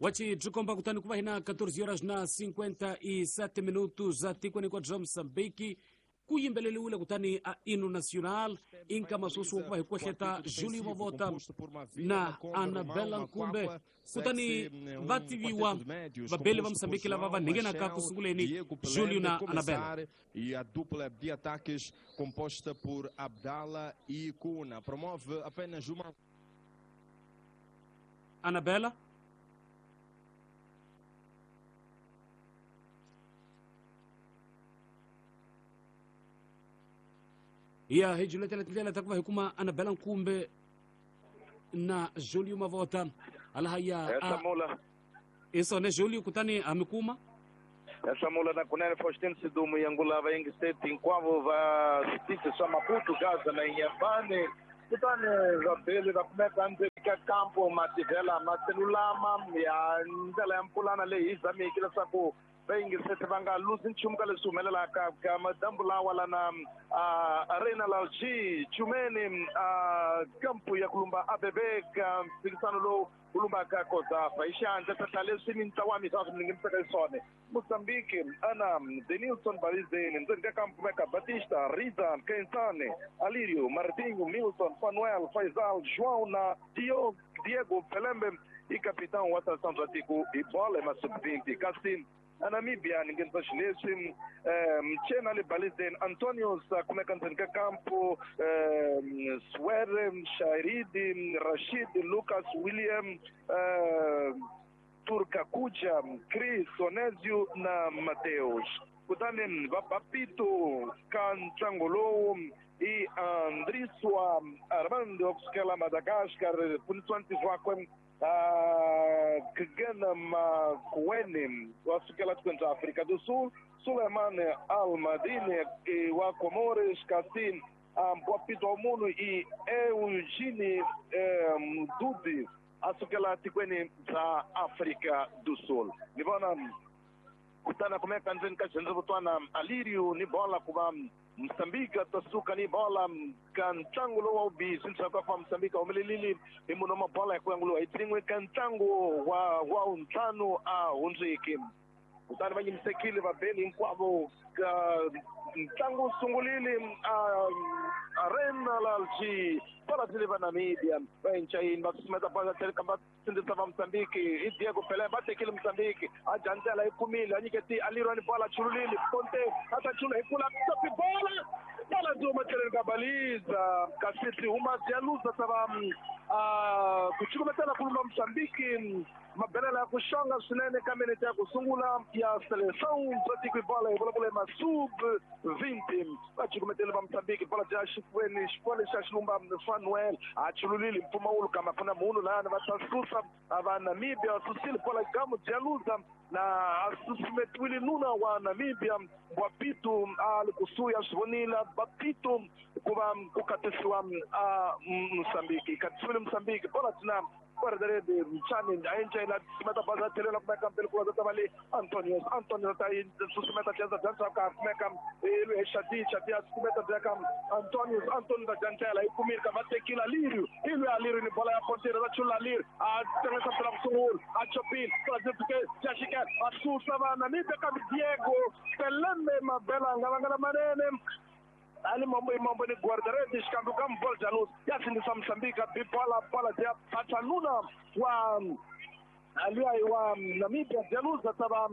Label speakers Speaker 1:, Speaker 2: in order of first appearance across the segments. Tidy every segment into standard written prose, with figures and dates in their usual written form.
Speaker 1: Wachi byi kutani ku va hina 14 horas na 57 minutos a tikweni hinkwabyo bya Mozambique ku yimbeleriwile kutani a hino nacional inkama sweswi wa ku va hi kwehleta Julio Mavota na Anabela Nkumbe kutani va tiviwa vabeli va Mozambique lava va nghenaka ku sunguleni Julio na Anabela.
Speaker 2: E a dupla de ataques composta por Abdala e Kuna promove apenas uma.
Speaker 1: Anabela ya hi juletela tindlela ta ku va hi kuma Anabela Nkumbe na Julio Mavota alaha ya isone Julio kutani a mi kuma
Speaker 3: Hlamula na kunene Faustino Sidumo Yangulava Yengiseti hinkwavo va switichi swa Maputo, Gaza na Inhambane kutani vabeli va kumeka ndzeni ka kampo mativhela maselulama ya ndlela ya mpulana leyi hi zamiki leswaku vayingiseti va nga luzi nchumu ka leswi humelelaka ka madambu lawa lana Arena Lalji Chumeni kampu ya kulumba ABB ka mphikisano lowu kulumbaka Kozafa hi xiandla tata leswi mintlawa misava swi ningimisaka iswona Mozambique ana Denilson Balizeni ndzeni ka kampu meka Batista Riza Kensane Alirio Martinho Milton Fanuel Faisal João na Diego Pelembe i capitão wa seleção bya tiko hi bola ya sub-20 kasi a Namibia ni nghenisa xileswi Mchena le Balizeni Antonius kumeka ndzeni ka kampo Swere Shairidi Rashid Lucas William Turkakuja Chris Onezio na Mateus kutani va Bapito ka ntlangu lowu i Andriswa Armando wa kusukela Madagascar pfunisiwa ntirho wakwe Kgena Makuene wa sukela tikweni bya Afrika do Sul, Suleiman Almadine wa Comores, kasi Mpwapito wa munhu i Eugene Mdudi a sukela tikweni bya Afrika do Sul. Ni vona kutani kumeka ndzeni ka xirhendzevutwana Alirio ni bola ku va Mozambique tasuka ni bola ka ntlangu lowu wa vubihi swi leswaku va Mozambique humelelile hi munhu wa mabola hi ku yanguliwa hi tsin'we ka ntlangu wa wuntlhanu a hundziki kutani va yimisekile vabeli hinkwavo ka ntlangu wu sungulile Arena Lalji bola tlhele va Namibia va encayini va susumeta bola tlhele ka va sindzisa va Mozambique i Diego Pelé va tekile Mozambique a jandzela yi kumile a nyiketi Aliro ni bola chululile Ponte a ta chula hi kula topi bola bola byi huma tlheleni ka baliza kasi byi huma byi ya luza ta va ku cukumetela kulumba Mozambique mabelela ya ku xonga swinene ka minete ya ku sungula ya seleção bya tiko hi bola hi vulavula hi masub 20 va cukumetele va Mozambique bola bya xifuveni xifuwa lexi a xilumba Fanuel a chululile mpfumawulo kama ku na munhu lani va ta susa va Namibia va susile bola gamu bya luza na a susumetiwile nuna wa Namibia Bapito a li kusuhi a swi vonile Bapito ku va ku katisiwa a Mozambique katisiwile Mozambique bola tina guarda-rede Mchani a susumeta bola tlhelela kumeka mbele ku va ta le Antonius Antonius ta susumeta tlhela bya ka kumeka ilwe Shadi Shadi a susumeta bya ka Antonius Antonius ta jantela yi kumile ka va tekile Alirio ilwe Alirio ni bola ya pontera va chula Alirio a tengesa bola kusungula a chopile bola bya Jashika a susa va Namibia ka Diego Pelembe mabela nga vangala manene ali mambo mambo ni guarda-redes xikambe ka bola Janus ya sindzisa Mozambique bi bola bola ya Pachanuna wa aliya wa Namibia Jaluza tava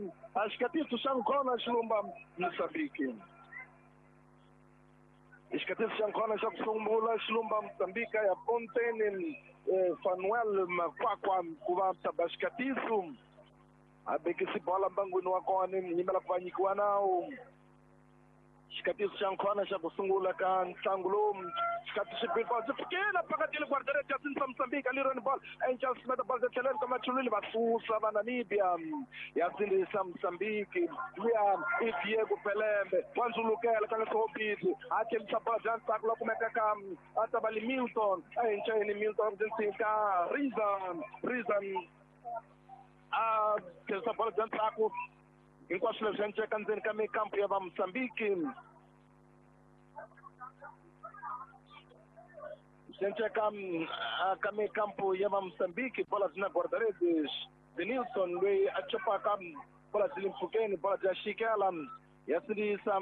Speaker 3: xikatiso xa nkona xilumba Mozambique xikatiso xa nkona xa ku sungula xilumba Mozambique ya Pontene Fanuel Makwakwa ku va taba xikatiso a bekisi bola mbangwini wa kona nyimela ku va nyikiwa nawu xikatiso xa nkhona xa ku sungula ka ntlangu lowu xikatiso xi bola byi fikile phakatile guarda-redes ya sindzisa Mozambique Aliro ni bola enca sumeta bola bya tlheleni ka machulwini va susa va Namibia ya sindzisa Mozambique luya i Diego Pelembe wa ndzulukela ka ngesihobisi a tlhelisa bola bya ntsako la kumeka ka a ta va le Milton a encayeni Milton ka Rizan Rizan a tlhelisa bola bya ntsako hinkwaswo leswi enceka ndzeni ka mikampu ya va Mozambique swi enceka ka mikampu ya va Mozambique bola byi na guarda-redes Denilson loyi a chopaka bola byi le mpfhukeni bola bya xikela ya sindzisa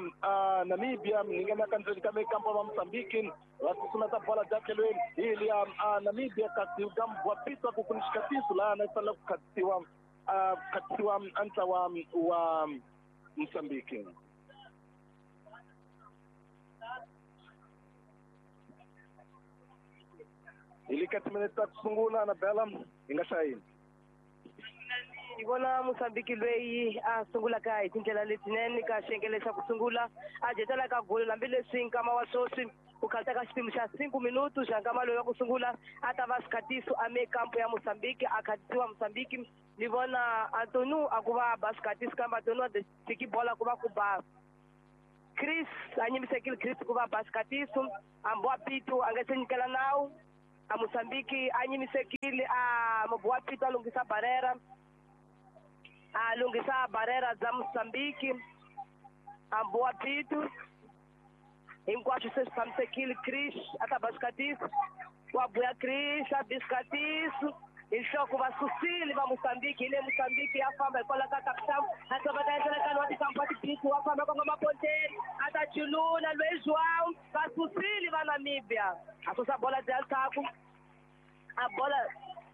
Speaker 3: Namibia yi nghena ka ndzeni ka mikampo va Mozambique va susumeta bola bya tlhelweni hi liya Namibia kasi ka Mbwapitwa ku ni xikatiso laha na fanele ku khatisiwa khatisiwa ntlawa wa Mozambique. Hi le ka timinete ta ku sungula na Bella hi nga xayini.
Speaker 4: Hi vona Mozambique loyi a sungulaka hi tindlela letinene ka xiyenge xa ku sungula a jetela ka golo hambileswi nkama wa sweswi ku khalita ka xipimo xa 5 minutu xa nkama loyi wa ku sungula a ta va xikhatiso a mekampo ya Mozambique a khatisiwa Mozambique. Ni vona Antonu a ku va ba xikhatiso kambe Antonu a tiki bola ku va ku ba Chris a nyimisekile Chris ku va ba xikhatiso a Pitu a nga se nyikela nawu a Mozambique a nyimisekile a Mbwa Pitu a lunghisa barrera a lunghisa barrera bya Mozambique a Mbwa Pitu hinkwaswo se swi tshamisekile. Chris a ta ba xikhatiso wa buya Chris a bi xikhatiso hi nhloko va susile va Mozambique hi le Mozambique ya famba hikwalaho ka kapitão a ta va ta endlela nkarhi wa tikampa tibisi wa famba kongoma ponteni a ta chulula loyi João va susile va Namibia a susa bola bya ndzhaku a bola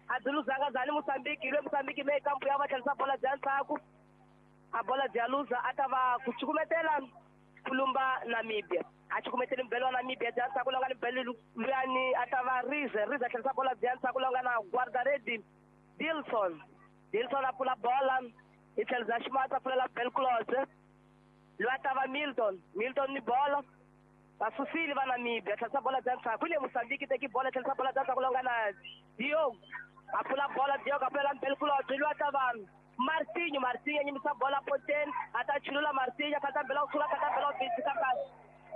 Speaker 4: a byi luzanga zani Mozambique hi le Mozambique me kampo ya va tlherisa bola bya ndzhaku a bola bya luza a ta va ku cukumetela ku lumba Namibia a cukumetele mbelo wa Namibia bya ndzhaku la nga ni mbelo luyani a ta va Rize Rize a tlherisa bola bya ndzhaku la nga na guardaredi Dilson Dilson a pfula bola hi tlhelo bya ximatsi a pfulela Belclose loyi a ta va Milton Milton ni bola va susile va Namibia tlherisa bola bya ndzhaku hi le Mozambique teki bola tlherisa bola bya ndzhaku la nga na Diogo a pfula bola Diogo a pfulela Belclose loyi a ta va Martinho Martinho a nyimisa bola poteni a ta chulula Martinho a kata mbela ku sula kata mbela ku bitsi kambe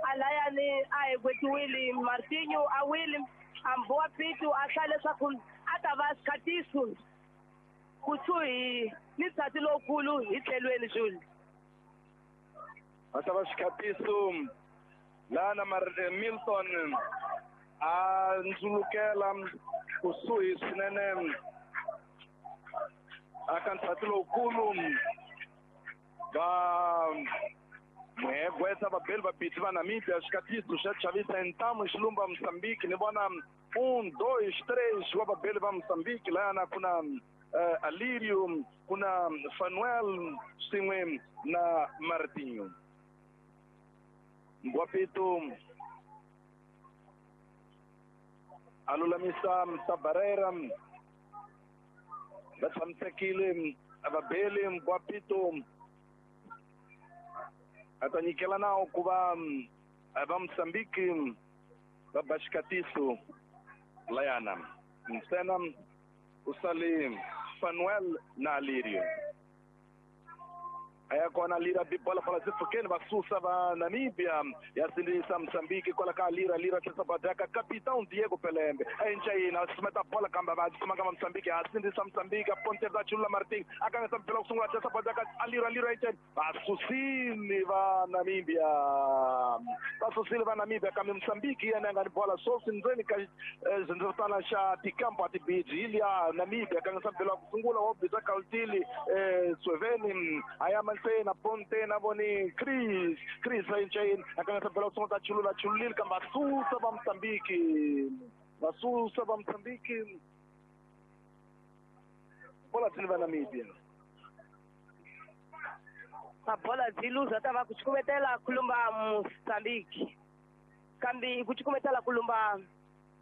Speaker 4: alayani a hi gwetiwile Martinho a wile a Mbwa Pitu a hlaya leswaku a ta va xikhatiso kusuhi ni nsati lowukulu hi tlhelweni Jules.
Speaker 3: A ta va xikhatiso laha na Milton a ndzulukela kusuhi swinene aka nsati lowukulu va muhegwetsa vabeli vabitsi va Namibia xikatiso xa chavisa ntamu xilumba Mozambique ni vona 1 2 3 wa vabeli va Mozambique lahana ku na Alirio ku na Fanuel swin'we na Martinho. Mbwa Pitu a lulamisa Tabarera va tshamisekile vabeli Mbwa Pitu a ta nyikela nawu ku va va Mozambique va ba xikatiso layana ntsena u sale Fanuel na Alirio a ya kona Lira bi bola bola byi pfukeni va susa va Namibia ya sindzisa Mozambique kwala ka Lira Lira tlhisa badaka capitão Diego Pelembe a encayina a susumeta bola kambe va kumaka va Mozambique a sindzisa Mozambique a ponte va chulula Martin a kangisa mpela ku sungula tlhisa badaka a Lira Lira encayina va susile va Namibia va susile va Namibia kambe Mozambique yena a nga ni bola swoswi ndzeni ka xindzevutana xa tikampo a tibiji hi liya Namibia kangisa mpela ku sungula wo biza Kaltili Sweveni a ya na ponte na voni Chris Chris encayini a kangisa mpela ku sungula ta chulula chululile kambe va susa va Mozambique va susa va Mozambique bola byi va Namibia
Speaker 4: a bola byi luza ta va ku cukumetela ku lumba Mozambique kambe ku cukumetela ku lumba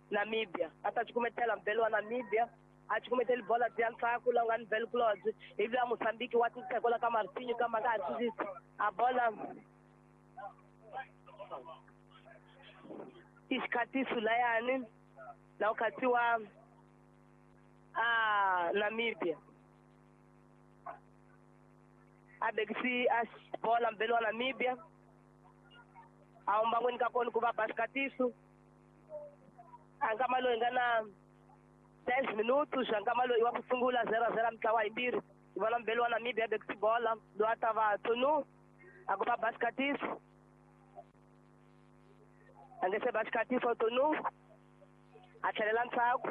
Speaker 4: Namibia a ta cukumetela mbelo wa Namibia a cukumeteli bola bya ndzhaku la nga ni Belclose ivi a Mozambique wa titsekola ka Martinho kambe a nga ha sindzisi a bola i xikhatiso layani la ku khatsiwa a Namibia a bekisi a bola mbelo wa Namibia a humbangweni ka kona ku va ba xikhatiso a nkama loyi nga na 10 minutos xa nkama loyi wa ku sungula 0-0 mitlawa yimbirhi hi vona mbelo wa Namibia a bekisi bola loyi a ta va Tonu a ku va ba xikhatiso a nge se ba xikhatiso Tonu a tlhelela ndzhaku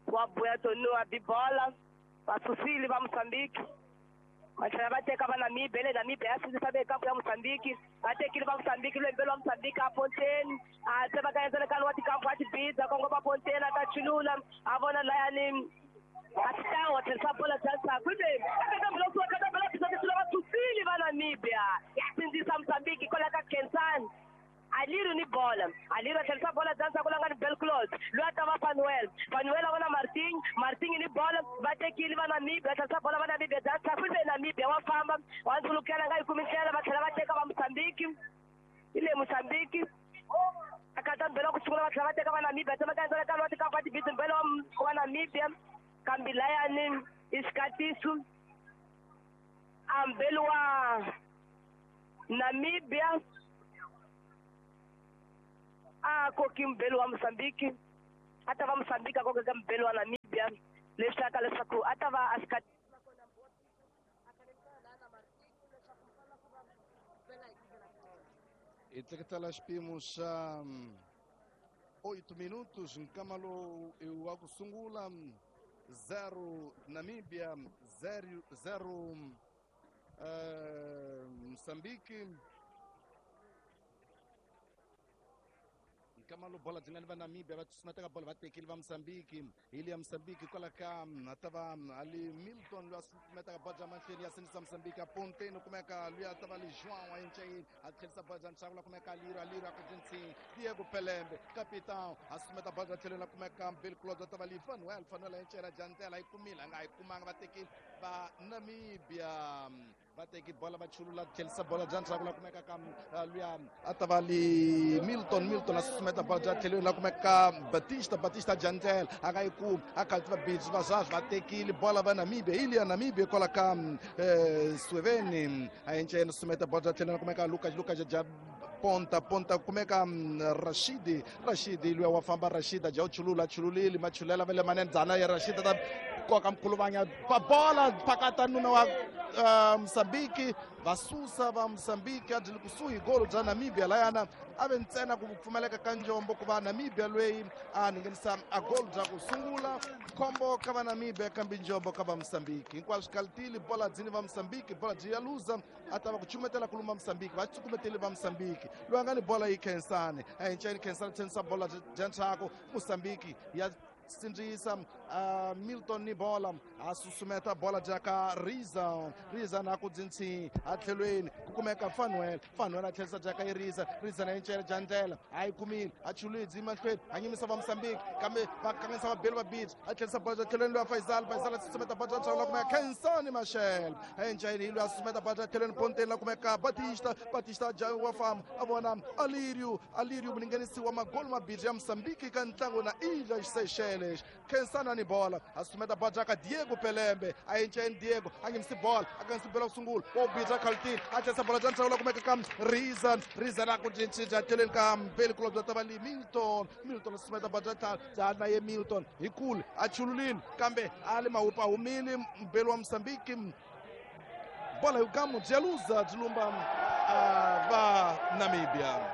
Speaker 4: wa buya Tonu a bi bola Va susile va Mozambique. Va tlhela va teka va Namibia, le Namibia ya sindzisa ve kampu ya Mozambique. Va tekile va Mozambique, lwembelo wa Mozambique a ponteni. A tsemakanya wa tikampu a tibidza kongoma ponteni a ta chulula a vona layani Capitão, tlherisa bola bya ndzhaku le va susile va Namibia ya sindzisa Mozambique kwala ka Khensani. Aliru ni bola, Aliru a tlherisa bola bya ndzhaku la nga ni Belclose loyi a ta va Fanuel, Fanuel a vona Martin, Martin ni bola va tekile va Namibia, tlherisa bola va Namibia bya ndzhaku le Namibia wa famba wa ndzulukela nga yi kumi ndlela va tlhela va teka va Mozambique. Hi le Mozambique a kata mbelo ku sungula va tlhela va teka va Namibia tsemakanya wa tikampa tibidzi mbelo wa Namibia kambi layani i xikatiso a mbelo wa Namibia a koki mbelo wa Mozambique a ta va Mozambique a kokeka mbelo wa Namibia leswi leswaku a ta va a xikatiso.
Speaker 5: Hi teketela xipimo xa 8 minutos nkamalo wa ku sungula 0 Namibia 0 0 Mozambique. Nkamalo bola byi nga ni va Namibia va susumeteka bola va tekile va Mozambique. Hi le ya Mozambique kwala ka a ta va ali Milton loyi a susumetaka bola bya mahlweni ya sindzisa Mozambique a ponteni kumeka loyi a ta va li João a encayini a tlherisa bola bya nxavo la kumeka Aliro, Aliro a ku jinsini Diego Pelembe capitão a susumeta bola bya tlhelweni la kumeka Bill Claude a ta va li Fanuel, Fanuel a encayela Jantela a yi kumile a nga yi kumanga va tekile va Namibia va teki bola va chulula tlherisa bola bya ndzhaku la kumeka ka luya a ta va li Milton, Milton a susumeta bola bya tlhelweni la kumeka Batista, Batista Jantel a nga yi kumi a khalti va bidzi va zazi va tekile bola va Namibia hi liya Namibia kwala ka Sweveni a enceni susumeta bola bya tlhelweni la kumeka Lucas, Lucas ja ponta ponta kumeka Rashidi, Rashidi luya wa famba Rashida ja u chulula chululile machulela va le manene dzana ya Rashida ta koka mkhuluvanya va bola phakata nuna wa Mozambique va susa va Mozambique a byi li kusuhi golo bya Namibia layana a ve ntsena ku pfumaleka ka njombo ku va Namibia loyi a nghenisa a golo bya ku sungula khombo ka va Namibia kambe njombo ka va Mozambique hinkwaswo kalitili bola dzini va Mozambique bola byi ya luza a ta va ku chumetela kuluma Mozambique va cukumeteli va Mozambique loyi a nga ni bola yi Khensani a enceni Khensani tshengisa bola bya ndzhaku Mozambique ya sindzisa Milton ni bola a susumeta bola bya ka Riza, Riza na ku dzinsi a tlhelweni ku kumeka Fanuel, Fanuel a tlherisa bya ka Riza, Riza na encela Jantela a yi kumile a chulidzi mahlweni a nyimisa va Mozambique kambe va kanganyisa vabeli va Beach a tlherisa bola bya tlhelweni loyi Faisal, Faisal a susumeta bola bya ndzhaku la kumeka Khensani Machel a encayini hi loyi a susumeta bola bya tlhelweni ponteni la kumeka Batista, Batista ja wa famba a vona Alirio, Alirio mulinganisi wa magolo mabirhi ya Mozambique ka ntlangu na Ilhas Seychelles. Khensani ni bola a susumeta bola bya ka Diego Pelembe a encayini Diego a nghenisi bola a nghenisi bola ku sungula wa ubidza khaltini a tlherisa bola bya ndzhaku la kumeka ka Rizan, Rizan a ku cinca tlhelweni ka Mbeli Club bya ta va li Milton, Milton a susumeta bola bya tlhanu bya na ye Milton hi kule a chululile kambe a le mahupa humile Mbeli wa Mozambique bola yugamu bya luza byi lumba va Namibia.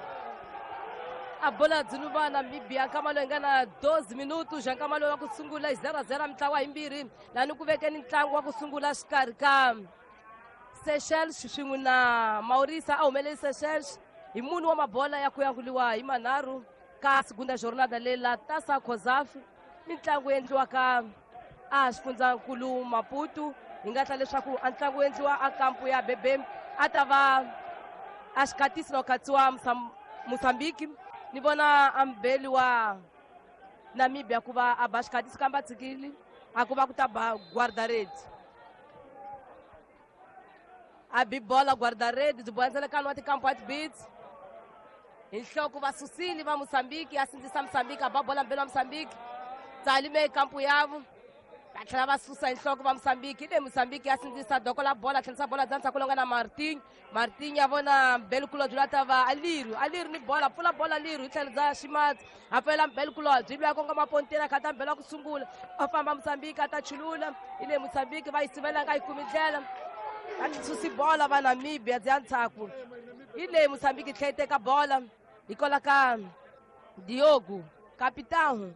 Speaker 4: A bola byi lumba Namibia nkama loyi nga na 12 minutos ja nkama loyi wa ku sungula hi 0-0 mitlawa yimbirhi lani ku vekeni ntlangu wa ku sungula xikarhi ka Seychelles swin'we na Mauritius a humeleli Seychelles hi mune wa mabola ya ku yanguliwa hi manharhu ka segunda jornada leyi la Taça COSAFA mitlangu endliwaka a xifundzankulu Maputo hi nga tla leswaku a ntlangu endliwa a kampu ya Bebe a ta va a xikatisi na ku katsiwa Mozambique ni vona a mbeli wa Namibia ku va a ba xikatisi kambe a tshikile a ku va ku ta ba guarda-redes a bi bola guarda-redes byi bohandzela wa tikampu wa tibits hi nhloko va susile va Mozambique a sindzisa Mozambique a ba bola mbeli wa Mozambique tsalime kampu yavo va tlhela va susa hi nhloko va Mozambique le Mozambique ya sindzisa doko la bola tlherisa bola bya ndzhaku longa na Martin, Martin ya vona Mbelkulobye loyi a ta va Aliru, Aliru ni bola pfula bola Aliru hi tlhelo bya ximatsi a pfulela Mbelkulobye loyi a kongoma ponteni a khata mbelo wa ku sungula a famba Mozambique a ta chulula hi le Mozambique va yi sivela nga yi kumi ndlela va susi bola va Namibia bya ndzhaku hi le Mozambique tlhela yi teka bola hi kola ka Diogo capitão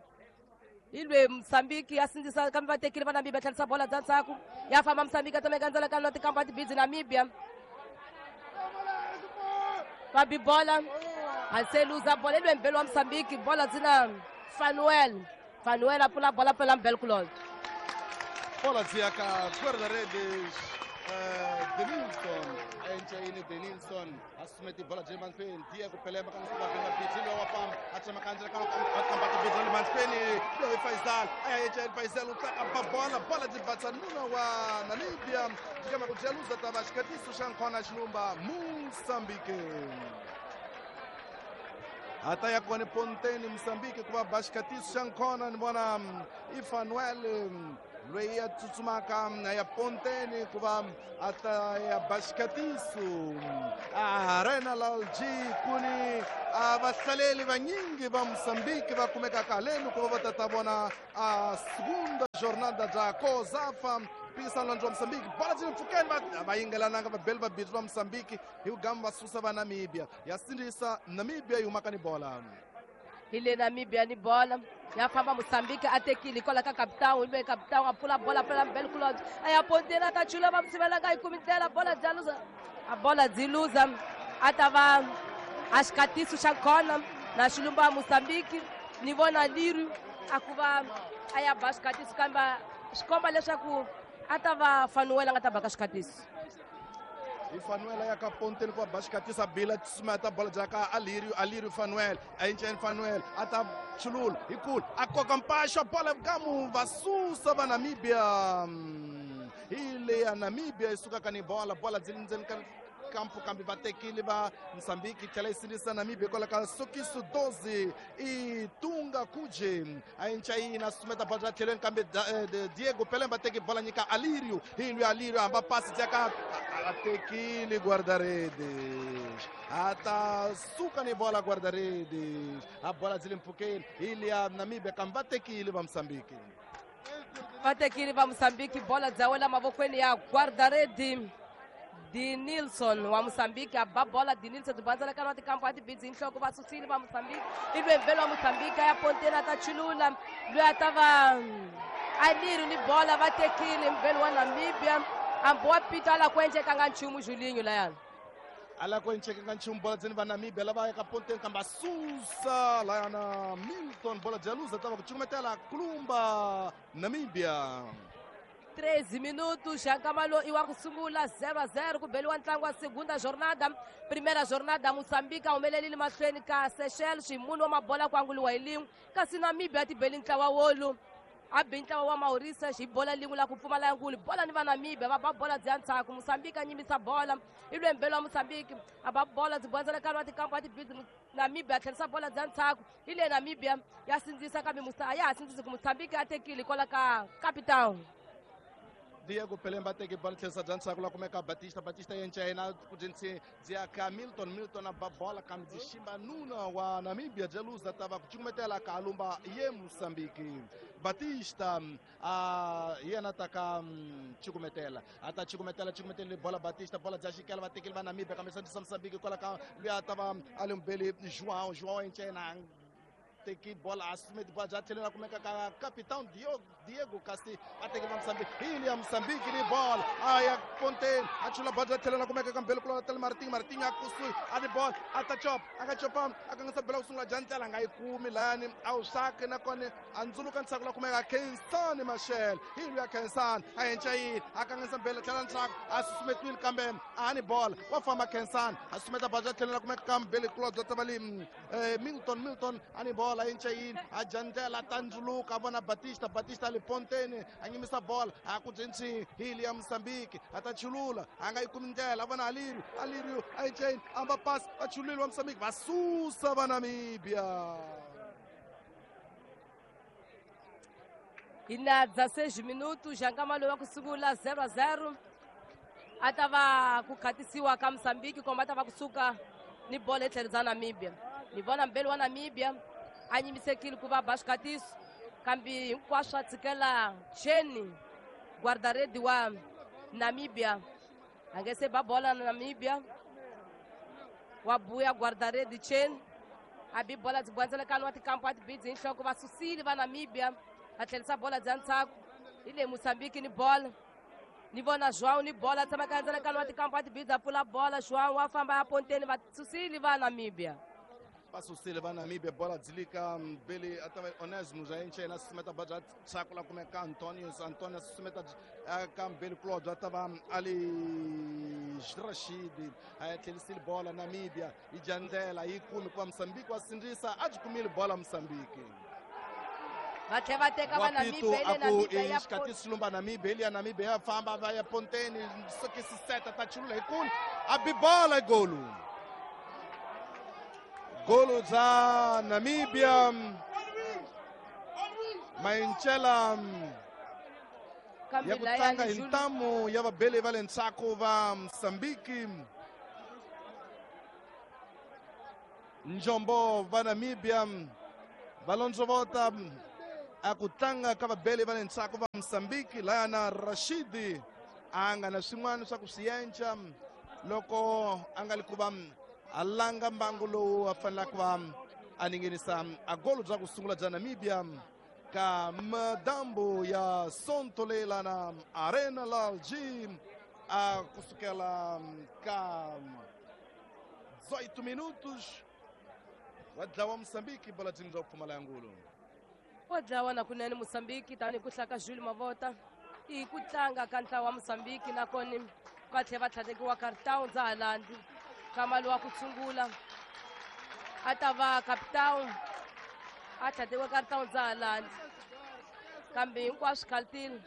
Speaker 4: Hi lwe Mozambique ya sindzisa kambe va tekile va Namibia tlherisa bola bya ndzhaku ya famba Mozambique a tsemeka ndzela ka tikampa tibidzi Namibia va bi bola a se luza bola hi lwe mbelo wa Mozambique bola dzina Fanuel Fanuel a pfula bola pela mbelo kulolo
Speaker 5: bola dziya ka guarda-redes Denilson enchayini Denilson asumeti bola bya mahlweni Diego Pelema ka nsuka bidzi lowa famba a tsema kandzela ka kamba tibidzi le mahlweni loyi Faisal aya enchayini Faisal u tlaka bola bola byi batsa nuna wa Namibia jikama ku jaluza tava xikatiso xa nkhona xilumba Mozambique ata ya kone Ponteni Mozambique ku va ba xikatiso xa nkhona ni vona i Fanuel loyi a tsutsumaka ya Ponteni ku va a ta ya ba xikatiso Arena Lalji kuni a vahlaleli vanyingi va Mozambique va kumekaka haleni ku va va tata vona a segunda jornada bya COSAFA mpikisano wa Mozambique bola byi le mpfhukeni va yingelananga vabeli va bindzu va Mozambique hi vugamu va susa va Namibia ya sindzisa Namibia yi humaka ni bola
Speaker 4: hi le Namibia ni bola ya famba Mozambique a tekile hikwalaho ka kapitawu hi loyi kapitawu a pfula bola pfula mbele kulobye a ya ponteni a ta chula va musivelanga yi kumi ndlela bola bya luza a bola byi luza a ta va a xikatiso xa khona na xilumba ya Mozambique ni vona liri a ku va a ya ba xikatiso kambe swi komba leswaku a ta va Fanuel a nga ta baka xikatiso
Speaker 5: hi Fanuel ya ka Ponteni ku va ba xikatiso bila tsumeta bola bya ka Alirio Alirio Fanuel a enceni Fanuel a ta chulula hi kulu a koka mpaxo bola gamu va susa va Namibia hi le ya Namibia yi sukaka ni bola bola byi le ndzeni ka kampo kambe va tekile va Mozambique yi tlhela yi sindzisa Namibia hikwalaho ka Sokiso 12 i Tunga Kuje a enchayina sumeta bola bya tlhelweni kambe Diego Pelemba teki bola nyika Alirio hi lwi Alirio hamba pasi bya ka a tekile guarda-redes a ta suka ni bola guarda-redes a bola byi le mpfhukeni hi liya Namibia kambe va tekile va Mozambique
Speaker 4: va tekile va Mozambique bola bya wela mavokweni ya guarda-redes Denilson wa Mozambique a ba bola Denilson tibandzela ka tikampo a tibidzi nhloko va susile va Mozambique i lwembelo wa Mozambique ya Ponteni a ta chulula loyi a ta va Alirio ni bola va tekile mbelo wa Namibia hambi wa pito a la ku endlekanga nchumu Julinho layani
Speaker 5: a la ku endlekanga nchumu bola dzeni va Namibia lava yaka Ponteni kambe a susa layana Milton bola bya luza ta va ku cukumetela kulumba Namibia
Speaker 4: 13 minutos já nkama i wa ku sungula 0-0 ku beliwa ntlangu wa segunda jornada primeira jornada Mozambique a humelelile mahlweni ka Seychelles munhu wa mabola ku anguliwa hi lin'we kasi Namibia a ti beli ntlawa wolu a bi ntlawa wa Mauritius hi bola lin'we la ku pfumala nkulu bola ni va Namibia va ba bola bya ndzhaku Mozambique a nyimisa bola i lwembelo wa Mozambique a ba bola byi bondzela nkarhi wa tikampo a tibidzi Namibia a tlherisa bola bya ndzhaku hi le Namibia ya sindzisa kambe a ya ha sindzisi ku Mozambique a tekile hikwalaho ka capitão
Speaker 5: Diego Pelemba teki bola tlherisa bya ndzhaku la kumeka Batista Batista yenchayina ku byi bya ka Milton Milton a ba bola kambe byi ximba nuna wa Namibia bya luza ta va ku cukumetela ka alumba ye Mozambique Batista a yena ta ka cukumetela a ta cukumetela cukumetela bola Batista bola bya xikela va tekile va Namibia kambe sandisa Mozambique kwala ka luya ta va a le mbeli João João yenchayina teki bola asumeti bola bya tlhela kumeka ka capitão Diego kasi a teki va Mozambique hi ya Mozambique ni bola a ya Ponteni a chula bola bya tlhela kumeka ka mbele kula tele Martin Martin a kusuhi a ni bola a ta chop a nga chopa a kangisa bola ku sungula bya ndlela nga yi kumi layani a wu saki nakona a ndzuluka ntshaku la kumeka Khensani Machel hi ya Khensani a henchayini a kangisa mbele tlhela ntshaku a susumetiwile kambe a ni bola wa famba Khensani a susumeta bola bya tlhela kumeka ka mbele kula bya tavali Milton Milton a ni bola enchayini a jandlela tandzuluka a vona Batista Batista le Ponteni a nyimisa bola a ku byi hi ya Mozambique a ta chulula a nga yi kumi ndlela a vona Alirio Alirio a enchayini a va pass va chulile wa Mozambique va susa va Namibia
Speaker 4: hi na 16 minutos já nkama lowu wa ku sungula 0-0 a ta va ku khatisiwa ka Mozambique komba a ta va kusuka ni bola hi tlhelo bya Namibia ni vona mbeli wa Namibia a nyimisekile ku va ba xikatiso kambe hinkwaswo a tshikela cheni guarda-rede wa Namibia a nge se ba bola na Namibia wa buya guarda-rede cheni a bi bola byi bwandzela wa tikampo a tibidzi hi nhloko va susile va Namibia A tlherisa bola bya ndzhaku hi le Mozambique ni bola ni vona João ni bola tshama ka ndzela ka tikampa tibidza pfula bola João wa famba ya ponteni va susile va Namibia.
Speaker 5: Va susile va Namibia bola dzilika mbili atava Onesmus a enche na susumeta baja tsakula kumeka Antonius Antonius susumeta ka mbili Claude atava Ali Rashid a tlhelisile bola Namibia yi dya ndlela yi kumi ku va Mozambique wa sindzisa a byi kumile bola Mozambique.
Speaker 4: Va tlhela va teka va Namibia le Namibia ya
Speaker 5: xikati xilumba Namibia liya Namibia ya famba va ya ponteni sokisi seta ta chulula hi kulu a bi bola golu. Golo bya Namibia Mainchela ya ku tlanga hi ntamu ya vabeli va le ndzhaku va Mozambique. Njombo va Namibia va londzovota a ku tlanga ka vabeli va le ndzhaku va Mozambique laya na Rashidi a nga na swin'wana swa ku swi yenca loko a nga li ku va a langa mbangu lowu a fanelaka ku va a ningenisa a golo bya ku sungula bya Namibia ka madambu ya Sonto leyi na Arena Lalji a kusukela ka 18 minutos wa dlawa Mozambique bola byi bya ku pfumala ya ngulu.
Speaker 4: Wa dlawa na kunene Mozambique tanihi ku hlaka Jules Mavota i ku tlanga ka ntlawa wa Mozambique nakona va tlhela va tlhatekiwa cartão ndza halandi kamalo wa ku tshungula a ta va capitão a tlhatekiwa cartão ndza halandi kambe hinkwaswo khaltile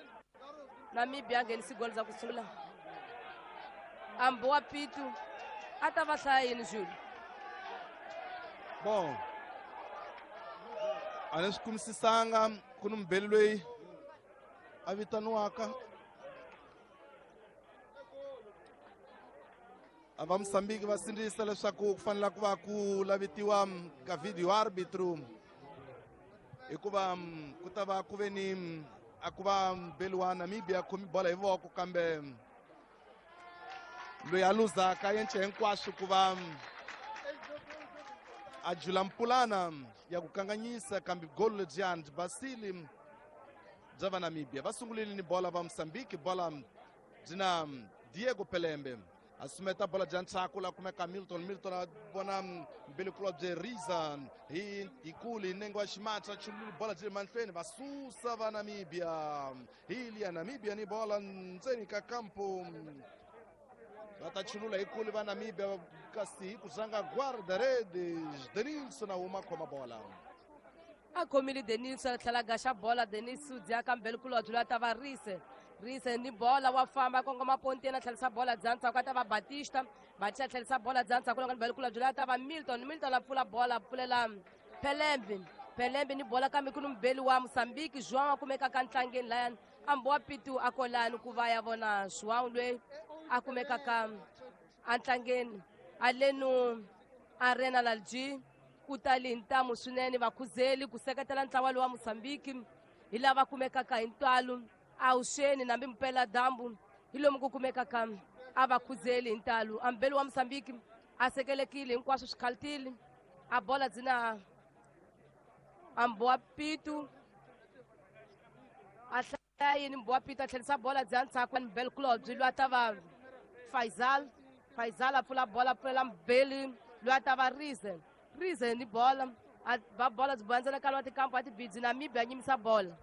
Speaker 4: Namibia a nghenisi golo za ku sungula ambi wa pitu a ta va hlaya yini Jules?
Speaker 5: Bon a ni swi kumisisanga ku ni mubeli loyi a vitaniwaka a va Mozambique va sindzisa leswaku ku fanele ku va ku lavitiwa ka video arbitro hikuva ku ta va ku ve ni a ku va mubeli wa Namibia khomi bola hi voko kambe loyi a luzaka yence hinkwaswo ku va a jula mpulana ya ku kanganyisa kambe golo lebyiyani byi basile bya va Namibia. Va sungulile ni bola va Mozambique bola byi na Diego Pelembe a sumeta bola bya ndzhaku la kumeka Milton Milton a vona mbilikulu bye Riza hi kulu hi nenge wa ximatsa chululi bola byi le mahlweni va susa va Namibia hi liya Namibia ni bola ndzeni ka kampo va ta chulula hi kulu va Namibia kasi hi ku zanga guarda-redes Denilson a huma khoma bola.
Speaker 4: A khomile Denilson a tlhela gaxa bola Denis u dya kambe kulobye loyi a ta va Rise Rise ni bola wa famba kongoma ponteni a tlherisa bola bya ndzhaku a ta va Batista Batista a tlherisa bola bya ndzhaku loko mbele kulobye loyi a ta va Milton Milton a pfula bola a pfulela Pelembe Pelembe ni bola kambe ku ni mubeli wa Mozambique João a kumeka ka ntlangeni layani ambi wa pitu a kolani ku va ya vona João loyi a kumeka ka antlangeni alenu Arena Lalji ku tali hi ntamu swinene vakhuzeli ku seketela ntlawa lowa Mozambique hi lava kumekaka hi ntalo awuxeni nambi mpela dyambu hi lomu ku kumekaka a vakhuzeli hi ntalo ambeli wa Mozambique a sekelekile hinkwaswo swi khaltile a bola byi na ambi wa pitu a hlaya yini mbi wa pitu a tlherisa bola bya ndzhaku mbeli kulobye loyi a ta va Faisal Faisal a pfula bola pfulela mbeli loyi a ta va Rize Rize ni bola a va bola byi boyandzela ka tikampo a tibidzi Namibia a nyimisa bola.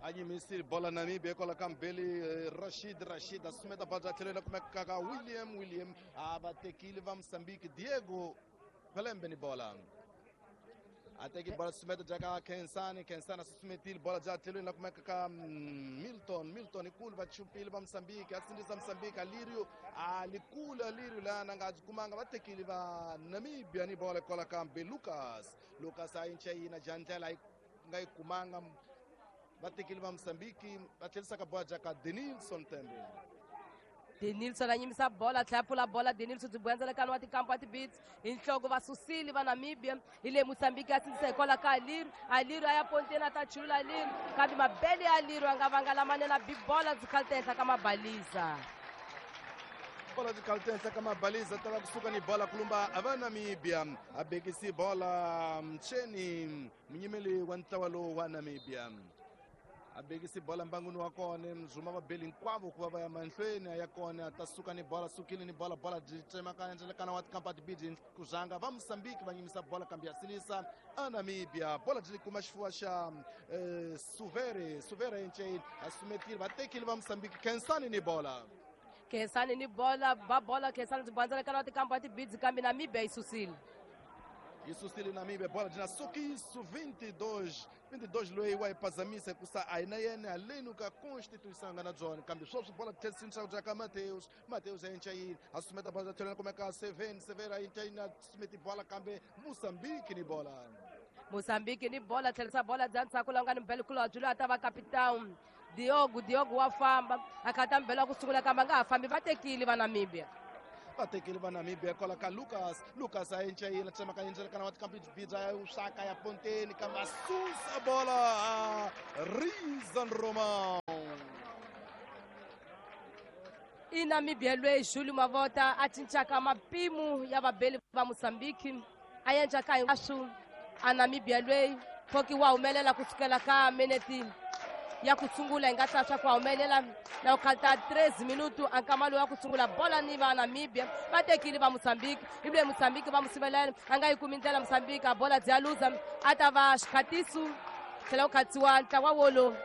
Speaker 5: A nyimisile bola Namibia kwala ka mbeli Rashid Rashid a sumeta bola bya tlhelo la kumeka ka William William a va tekile va Mozambique Diego Pelembe ni bola a teki bola sumeta bya ka Kensani Kensani a susumetile bola bya tlhelweni la kumeka ka Milton Milton ikulu va chupile va Mozambique a sindzisa Mozambique Alirio a likulu Alirio lana nga byi kumanga va tekile va Namibia ni bola kwala ka mbe Lucas Lucas a yinca yina jandlela yi nga yi kumanga va tekile va Mozambique va tlherisa ka bola bya ka Denilson Tembe.
Speaker 4: Denilson a nyimisa bola tlhela pfula bola Denilson byi boyandzela wa tikampo a tibits hi nhloko va susile va Namibia hi le Mozambique a sindzisa hikwalaho ka Aliru Aliru a ya ponteni a ta chulula Aliru kambe mabele ya Aliru a nga vanga lamanene a bi bola byi khalita henhla ka mabaliza.
Speaker 5: Bola byi khalita henhla ka mabaliza ta va kusuka ni bola kulumba va Namibia a bekisi bola mcheni munyimeli wa ntlawa lowu wa Namibia. A bekisi bola mbangwini wa kona mzuma vabeli hinkwavo ku va va ya mahlweni a ya kona a ta suka ni bola sukile ni bola bola byi tsemakanya ndzelekana wa tikampani bidi ku zanga va Mozambique va nyimisa bola kambe ya sinisa a Namibia bola byi kuma xifuva xa Suvere Suvere Nche a sumetile va tekile va Mozambique Khensani ni bola
Speaker 4: Khensani ni bola ba bola Khensani byi bandzelekana wa tikampani tibidzi kambe Namibia yi susile.
Speaker 5: Yi susile Namibia bola byi na Sokiso 22 loyi wa yi phazamisa hikusa a hi na yena haleni ka constituição a nga na byona kambe sweswi bola tlherisini bya ka Mateus Mateus a encayini a sumeta bola tlhelweni kumeka 7 7 a encayini a sumeti bola kambe Mozambique ni bola.
Speaker 4: Mozambique ni bola tlherisa bola bya ndzhaku laha nga ni mbelekulu byi loyi a ta va capitão Diogo Diogo wa famba a khata mbelo wa ku sungula kambe a nga ha fambi va tekile va Namibia.
Speaker 5: Va tekile va Namibia kwala ka Lucas Lucas a encayina tsemaka endzelekana wa tikampibidza ya usaka ya ponteni kambe a susa bola a Rizan Romão.
Speaker 4: I Namibia loyi Julio Mavota a cincaka mapimo ya vabeli va Mozambique a endlaka hinkwaswo a Namibia loyi phoki wa humelela kusukela ka minete ya ku sungula hi nga ta swa ku humelela na ku khalta 3 minutu a nkama lowu wa ku sungula bola ni va Namibia va tekile va Mozambique ivi Mozambique va musivelela a nga yi kumi ndlela Mozambique a bola bya luza a ta va xikhatiso tlhela ku khatsiwa ntlawa wolo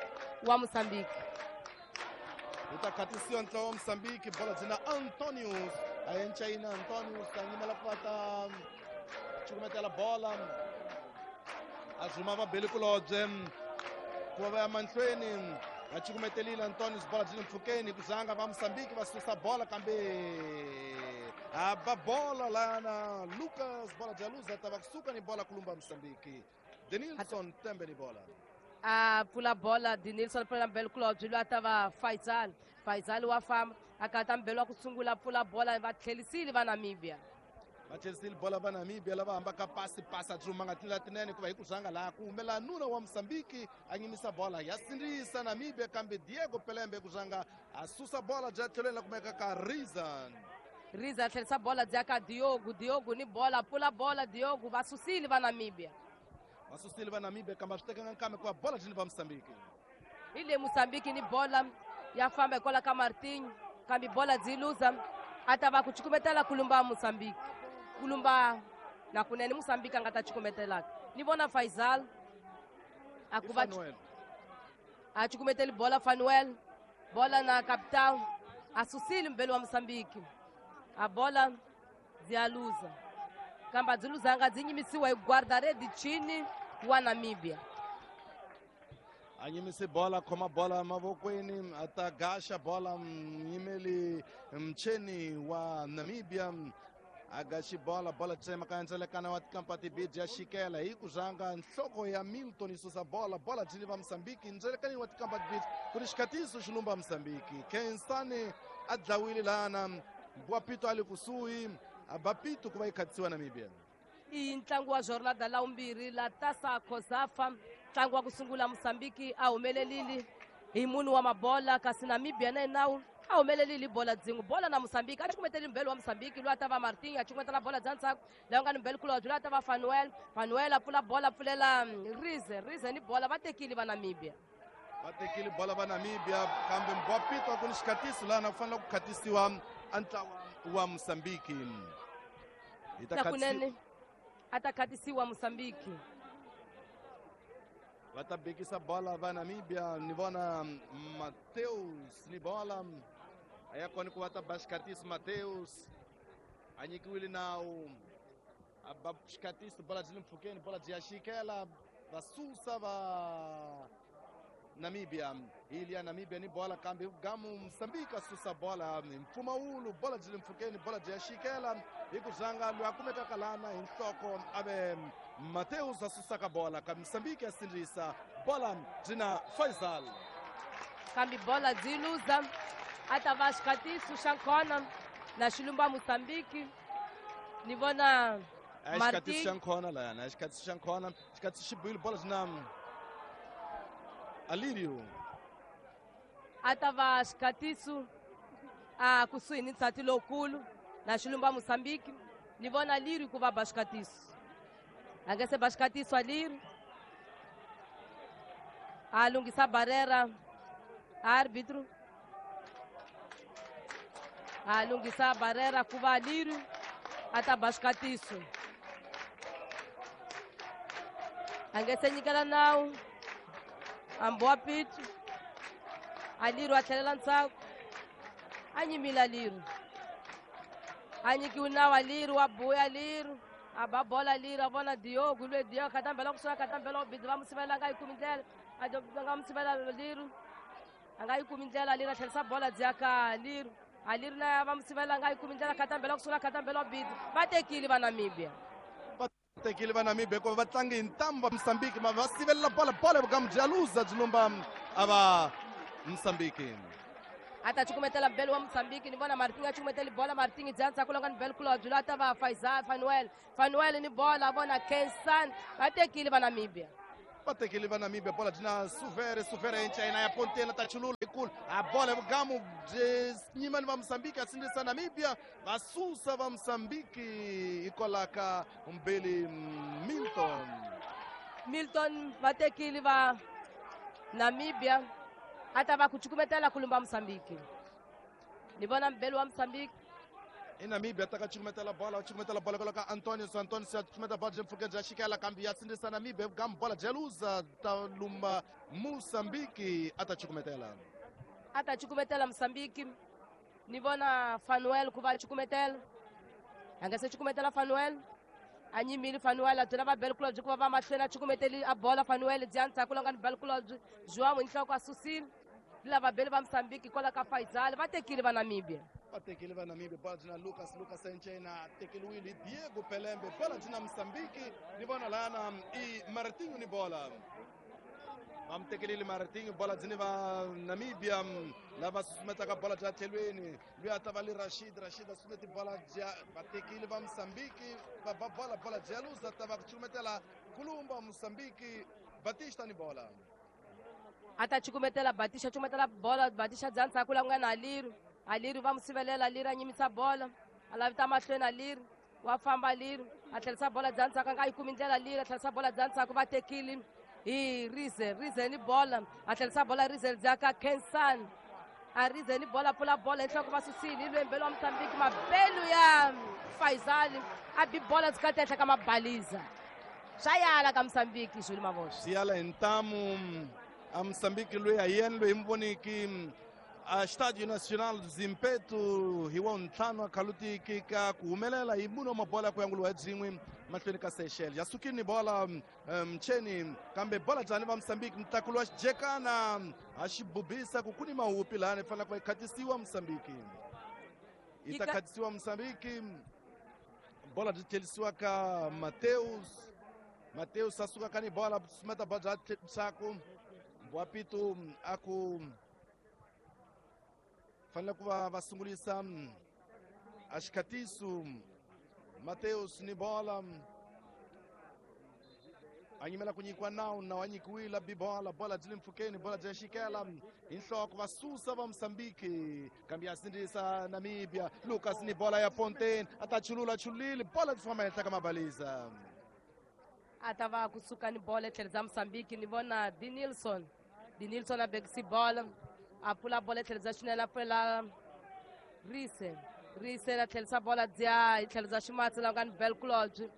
Speaker 4: wa Mozambique.
Speaker 5: Wu ta khatisiwa ntlawa wa Mozambique bola byi na Antonius a encayina Antonius a nyimela ku va ta cukumetela bola a zuma vabeli kulobye ku va va ya mahlweni va cukumetelile Antonius bola byi le mpfhukeni ku zanga va Mozambique va susa bola kambe a ba bola lana Lucas bola bya luza ta va kusuka ni bola kulumba Mozambique Denilson Tembe ni bola.
Speaker 4: A pfula bola Denilson pfula mbelo kulobye loyi a ta va Faisal Faisal wa famba a kata mbelo wa ku sungula pfula bola va tlhelisile va Namibia.
Speaker 5: Va tlherisile bola va Namibia lava hambaka pasi pasi a dzuma nga tindlela tinene hikuva hi ku zanga laha ku humela nuna wa Mozambique a nyimisa bola ya sindzisa Namibia kambe Diego Pelembe ku zanga a susa bola bya tlhelweni la kumeka ka Rizan.
Speaker 4: Rizan tlherisa bola bya ka Diogo Diogo ni bola pfula bola Diogo va susile va Namibia.
Speaker 5: Va susile va Namibia kambe a swi tekanga nkambe hikuva bola byi ni va Mozambique.
Speaker 4: Hi le Mozambique ni bola ya famba hikwalaho ka Martinho kambe bola byi luza a ta va ku cukumetela kulumba Mozambique. Kulumba na kunene Mozambique a nga ta cukumetelaka ni vona Faisal a ku va a cukumeteli bola Fanuel bola na capitão a susile mbelo wa Mozambique a bola byi a luza kambe a byi luzanga byi nyimisiwa hi guarda-rede chini wa Namibia.
Speaker 5: A nyimise bola khoma bola mavokweni a ta gaxa bola nyimeli mcheni wa Namibia a gaxi bola bola tsemaka ndzelekana wa tikampati bidi ya xikela hi ku zanga nhloko ya Milton yi susa bola bola byi va Mozambique ndzelekanini wa tikampati bidi ku ri xikhatiso xi lumba Mozambique Khensani a dlawile lana Mbwapito a le kusuhi a ba pito ku va yi khatisiwa Namibia.
Speaker 4: I ntlangu wa jornada la vumbirhi la Tasa Cosafa ntlangu wa ku sungula Mozambique a humelelile hi munhu wa mabola kasi Namibia na yena a humelelile bola dzingu bola na Mozambique a cukumeteli mbelo wa Mozambique loyi a ta va Martin a cukumetela bola bya ndzhaku laha nga ni mbelo kulobye loyi a ta va Fanuel Fanuel a pfula bola pfulela Rize Rize ni bola va tekile va Namibia.
Speaker 5: Va tekile bola va Namibia kambe Mbwapito a ku ni xikhatiso laha na ku fanele ku khatisiwa a ntlawa wa Mozambique. Hi ta
Speaker 4: kunene a ta khatisiwa Mozambique.
Speaker 5: Va ta bekisa bola va Namibia ni vona Mateus ni bola a ya kona ku va ta ba xikhatiso Mateus a nyikiwile nawu a ba xikhatiso bola byi le mpfhukeni bola byi ya xikela va susa va Namibia hi ya Namibia ni bola kambe gamu Mozambique a susa bola hi mpfumawulo bola byi le mpfhukeni bola byi ya xikela hi ku zanga loyi a kumekaka lana hi nhloko a ve Mateus a susaka bola kambe Mozambique ya sindzisa bola byi na Faisal
Speaker 4: kambe bola byi luza a ta va xikhatiso xa nkhona na xilumba Mozambique ni vona
Speaker 5: xikhatiso xa nkhona layana xikhatiso xa nkhona xikhatiso xi buyile bola byi na Alirio
Speaker 4: a ta va xikhatiso a kusuhi ni nsati lowukulu na xilumba Mozambique ni vona Liri ku va ba xikhatiso a nga se ba xikhatiso a Liri A lunghisa barrera árbitro. A lunghisa barrera ku va Liru a ta ba xikatiso. A nge se nyikela nawu. Amboa pitu. A Liru a tlhelela ndzhaku. A nyimile Liru. A nyikiwe nawu a Liru wa buya Liru. A ba bola Liru a vona Diogo lwe Diogo khatambela kusuka khatambela ubhizi va mu sivela a nga yi kumi ndlela. A nga mu sivela Liru. A nga yi kumi ndlela Liru a tlherisa bola byi ya ka Liru. A Liru na va mu sivela a nga yi kumi ndlela khatambela kusuka khatambela ubhizi. Va tekile va Namibia.
Speaker 5: Va tekile va Namibia hikuva va tlange hi ntamu va Mozambique va sivelela bola bola vugamu bya luza byi lumba a va Mozambique.
Speaker 4: A ta cukumetela mbelo wa Mozambique ni vona Martin a cukumeteli bola Martin bya ndzhaku loko ni belo kulobye loyi a ta va Faisal Fanuel. Fanuel ni bola vona Kensan va tekile va Namibia.
Speaker 5: Va tekile va Namibia bola byi na Suvere Suvere enchina ya Pontela ta chulula ikulu a bola vugamu byi nyima ni va Mozambique a sindzisa Namibia va susa va Mozambique hikwalaho mbeli Milton.
Speaker 4: Milton va tekile va Namibia a ta va ku cukumetela ku lumba Mozambique. Ni vona mbelo wa Mozambique.
Speaker 5: I Namibia ta ka cukumetela bola cukumetela bola kwala ka Antonio Antonio ya cukumeta bola byi mpfhuka bya xikela kambe ya sindzisa Namibia vugamu bola bya luza ta lumba Mozambique a ta cukumetela.
Speaker 4: A ta cukumetela Mozambique. Ni vona Fanuel ku va cukumetela. A nga se cukumetela Fanuel. A nyimile Fanuel a byela va belo kulobye ku va va mahlweni a cukumeteli a bola Fanuel bya ndzhaku loko ni belo kulobye João hi nhloko a susile. Lava belo va Mozambique hikwalaho ka Faisal va tekile va Namibia.
Speaker 5: Va tekile va Namibia bola byi na Lucas Lucas Enchena tekeliwile hi Diego Pelembe bola byi na Mozambique ni vona lana i Martinho ni bola. Va mu tekelile Martinho bola byi ni va Namibia lava susumetaka bola bya tlhelweni loyi a ta va le Rashid Rashid a susumeti bola bya va tekile va Mozambique va ba bola bola bya luza ta va ku cukumetela kulumba Mozambique Batista ni bola.
Speaker 4: A ta cukumetela Batista cukumetela bola Batista bya ndzhaku la ku nga na Aliru. Aliru va mu sivelela Aliru a nyimisa bola a lavita mahlweni Aliru wa famba Aliru a tlherisa bola bya ndzhaku a nga yi kumi ndlela Aliru a tlherisa bola bya ndzhaku va tekile hi Rize Rize ni bola a tlherisa bola Rize bya ka Kensan a Rize ni bola pfula bola hi nhloko va susile hi lwembelo wa Mozambique mabelu ya Faisal a bi bola byi kati ehenhla ka mabaliza swa yala ka Mozambique Jules Mavoxa.
Speaker 5: Swi yala hi ntamu a Mozambique loyi a yena loyi mi voniki a Estádio Nacional do Zimpeto hi wa ntlhanu a khalutiki ka ku humelela hi mune wa mabola ku yanguliwa hi byin'we mahlweni ka Seychelles ya sukile ni bola mcheni kambe bola njhani va Mozambique mutlakulo wa xijekana a xi bubisa ku ku ni mahupi lahani fanele ku va yi khatisiwa Mozambique yi ta khatisiwa Mozambique bola byi tlherisiwa ka Mateus Mateus a suka ka ni bola sumeta bola bya ndzhaku Mbwapitu a ku fanele ku va va sungulisa a xikhatiso Mateus ni bola a nyimela ku nyikiwa nawu nawu a nyikiwile bi bola bola byi le mpfhukeni bola bya xikela hi nhloko va susa va Mozambique kambe ya sindzisa Namibia Lucas ni bola ya Pontaine a ta chulula chululile bola byi famba henhla ka mabaliza.
Speaker 4: A ta va kusuka ni bola etlhelo bya Mozambique ni vona Dinilson Dinilson a bekisi bola a pfula bola etlhelo bya xinene a pfulela Rise Rise a tlherisa bola bya hi tlhelo bya ximatsi la nga ni bel kulobye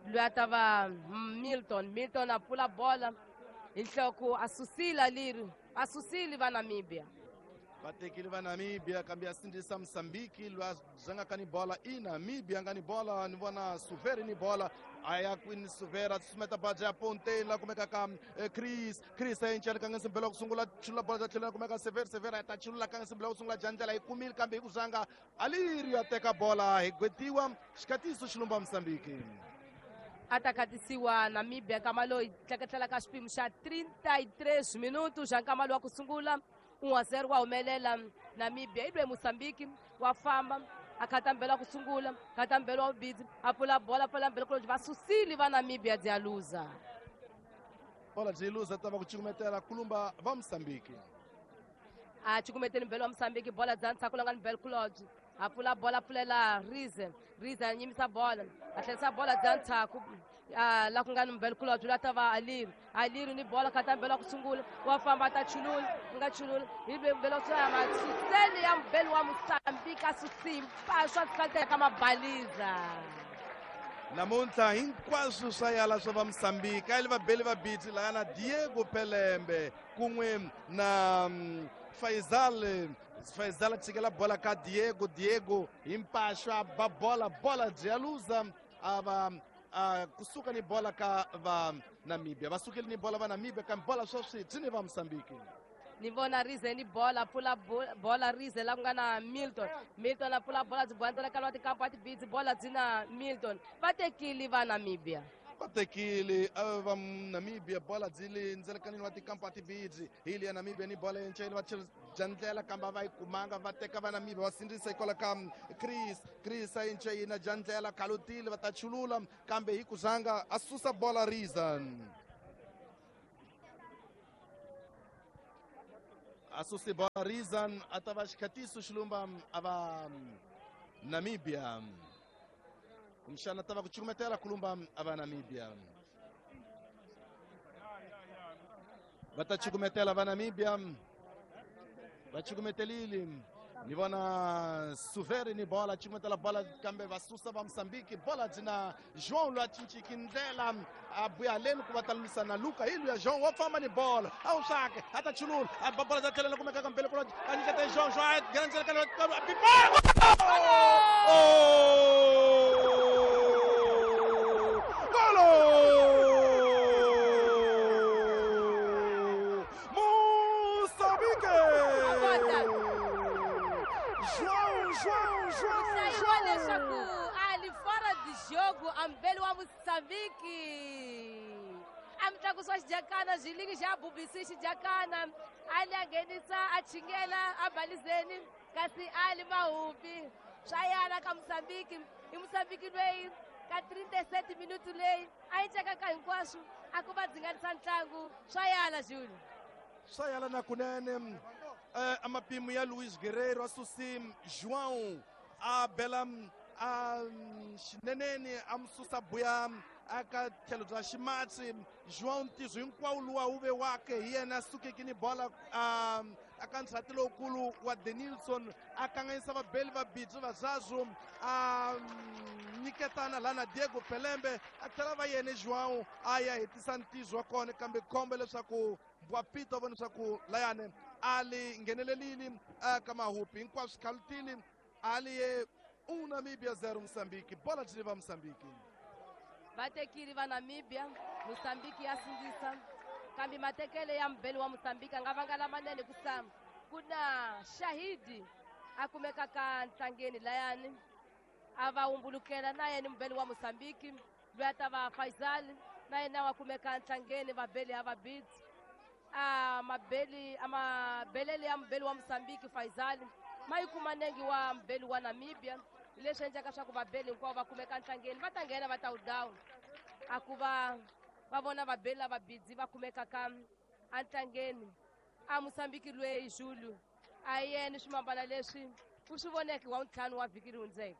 Speaker 4: loyi a ta va Milton Milton a pfula bola hi nhloko a susile Aliru a susile va Namibia.
Speaker 5: Va tekile va Namibia kambe ya sindzisa Mozambique loyi a zangaka ni bola i Namibia nga ni bola ni vona Suvere ni bola a ya kwini Suvere a susumeta baja ya Pontaine la kumeka ka Chris Chris a encela ka nga simbela ku sungula chulula bola bya tlhelo kumeka Severe Severe a ta chulula ka nga simbela ku sungula bya ndlela yi kumile kambe hi ku zanga Aliru ya teka bola hi gwetiwa xikatiso xilumba Mozambique.
Speaker 4: A ta khatisiwa Namibia nkama loyi tleketlela ka xipimo xa 33 minutos xa nkama lowu wa ku sungula 1-0 wa humelela Namibia i lwe Mozambique wa famba a khata mbelo wa ku sungula khata mbelo wa vubidzi a pfula bola pfula mbelo kulobye va susile va Namibia bya luza.
Speaker 5: Bola byi luza ta va ku cukumetela kulumba va Mozambique.
Speaker 4: A cukumeteni mbele wa Mosambiki bola dza ntshaku la nga ni Belclodge a pfula bola pfulela Rize. Rize a nyimisa bola a tlherisa bola dza ntshaku la ku nga ni Belclodge la ta va Aliri. Aliri ni bola kata mbele wa ku sungula wa famba a ta chulula nga chulula hi mbele wa sungula masuseni ya mbele wa Mosambiki a susimpa swa ka mabaliza.
Speaker 5: Namuntlha hinkwaswo swa yala swa va Mosambiki a li vabeli va biti laya na Diego Pelembe kun'we na Faisal. Faisal a tshikela bola ka Diego. Diego hi mpaxo a ba bola, bola byi ya luza a va kusuka ni bola ka va Namibia. Va sukile ni bola va Namibia kambe bola sweswi byi ni va Mosambiki.
Speaker 4: Ni vona Rize ni bola pfula bola Rize la ku nga na Milton. Milton a pfula bola byi boyandzela ka lwa tikampa a tibidzi bola byi na Milton. Va tekile va Namibia.
Speaker 5: Va tekile va Namibia bola byi le ndzelekanini wa tikampa a tibidzi. Hi le ya Namibia ni bola yenceni va jandlela kambe va yi kumanga va teka va Namibia va sindzisa hikwalaho ka Chris. Chris a yence yina jandlela khalutile va ta chulula kambe hi ku zanga a susa bola Rizan. A susi bola Rizan a ta va xikhatiso xilumba a va Namibia. Kumbexana ta va ku cukumetela kulumba a va Namibia. Va ta cukumetela va Namibia. Va cukumetelile. Ni vona Suveri ni bola cukumetela bola kambe va susa va Mosambiki bola byi na João loyi a cinciki ndlela a buya haleni ku va ta lwisana na Luka. Hi luya João wa famba ni bola a wu swake a ta chulula a ba bola za tlhelela kumeka ka mbele ku a nyiketa João. João a nghena ndzeni ka Golo! Moçambique! João, João,
Speaker 4: João! Leswaku ali fora de jogo a mbele wa Mosambiki. A mitlakusi wa xijakana xilingi xa bubisi xijakana ali a nghenisa a chingela a balizeni kasi ali mahupi swa yana ka Mosambiki. I Mosambiki loyi ka 37 minutu leyi a yi cekaka hinkwaswo a ku va dzinganisa ntlangu swa yala Juli.
Speaker 5: Swa yala na kunene a mapimo ya Luis Guerreiro a susi João a bela a xineneni a mususa buya aka tlhelo bya ximatsi. João ntirho hinkwawo luwa wu ve wake hi yena a sukeke ni bola aka ndzhati lowukulu wa Denilson a kanganyisa vabeli va bidzi va Zazu a nyiketana laha na Diego Pelembe a tlhela va yena João a ya hetisa ntirho wa kona kambe khombo leswaku Bwapito a vona leswaku layani a li nghenelelile aka mahupi hinkwaswo khalutile a li ye 1 Namibia 0 Mosambiki. Bola byi va Mosambiki.
Speaker 4: Va tekile va Namibia, Mosambiki ya sindzisa kambe matekele ya mbele wa Mosambiki a nga vanga lamanene ku sa ku na Shahidi a kumeka ka ntlangeni layani a va humbulukela na yena mbele wa Mosambiki loyi a ta va Faisal na yena wa kumeka ntlangeni vabeli ya vabidzi. A mabeli a mabelele ya mbele wa Mosambiki Faisal ma yi kuma nengi wa mbele wa Namibia leswi endlaka swa ku vabeli hinkwavo va kumeka ntlangeni va ta nghena va ta wu down a ku va va vona vabeli lava bidzi va kumekaka entlangeni. A Mosambiki loyi Julu a yena swimambana leswi u swi voneke wa ntlhanu wa vhiki ri hundzeke.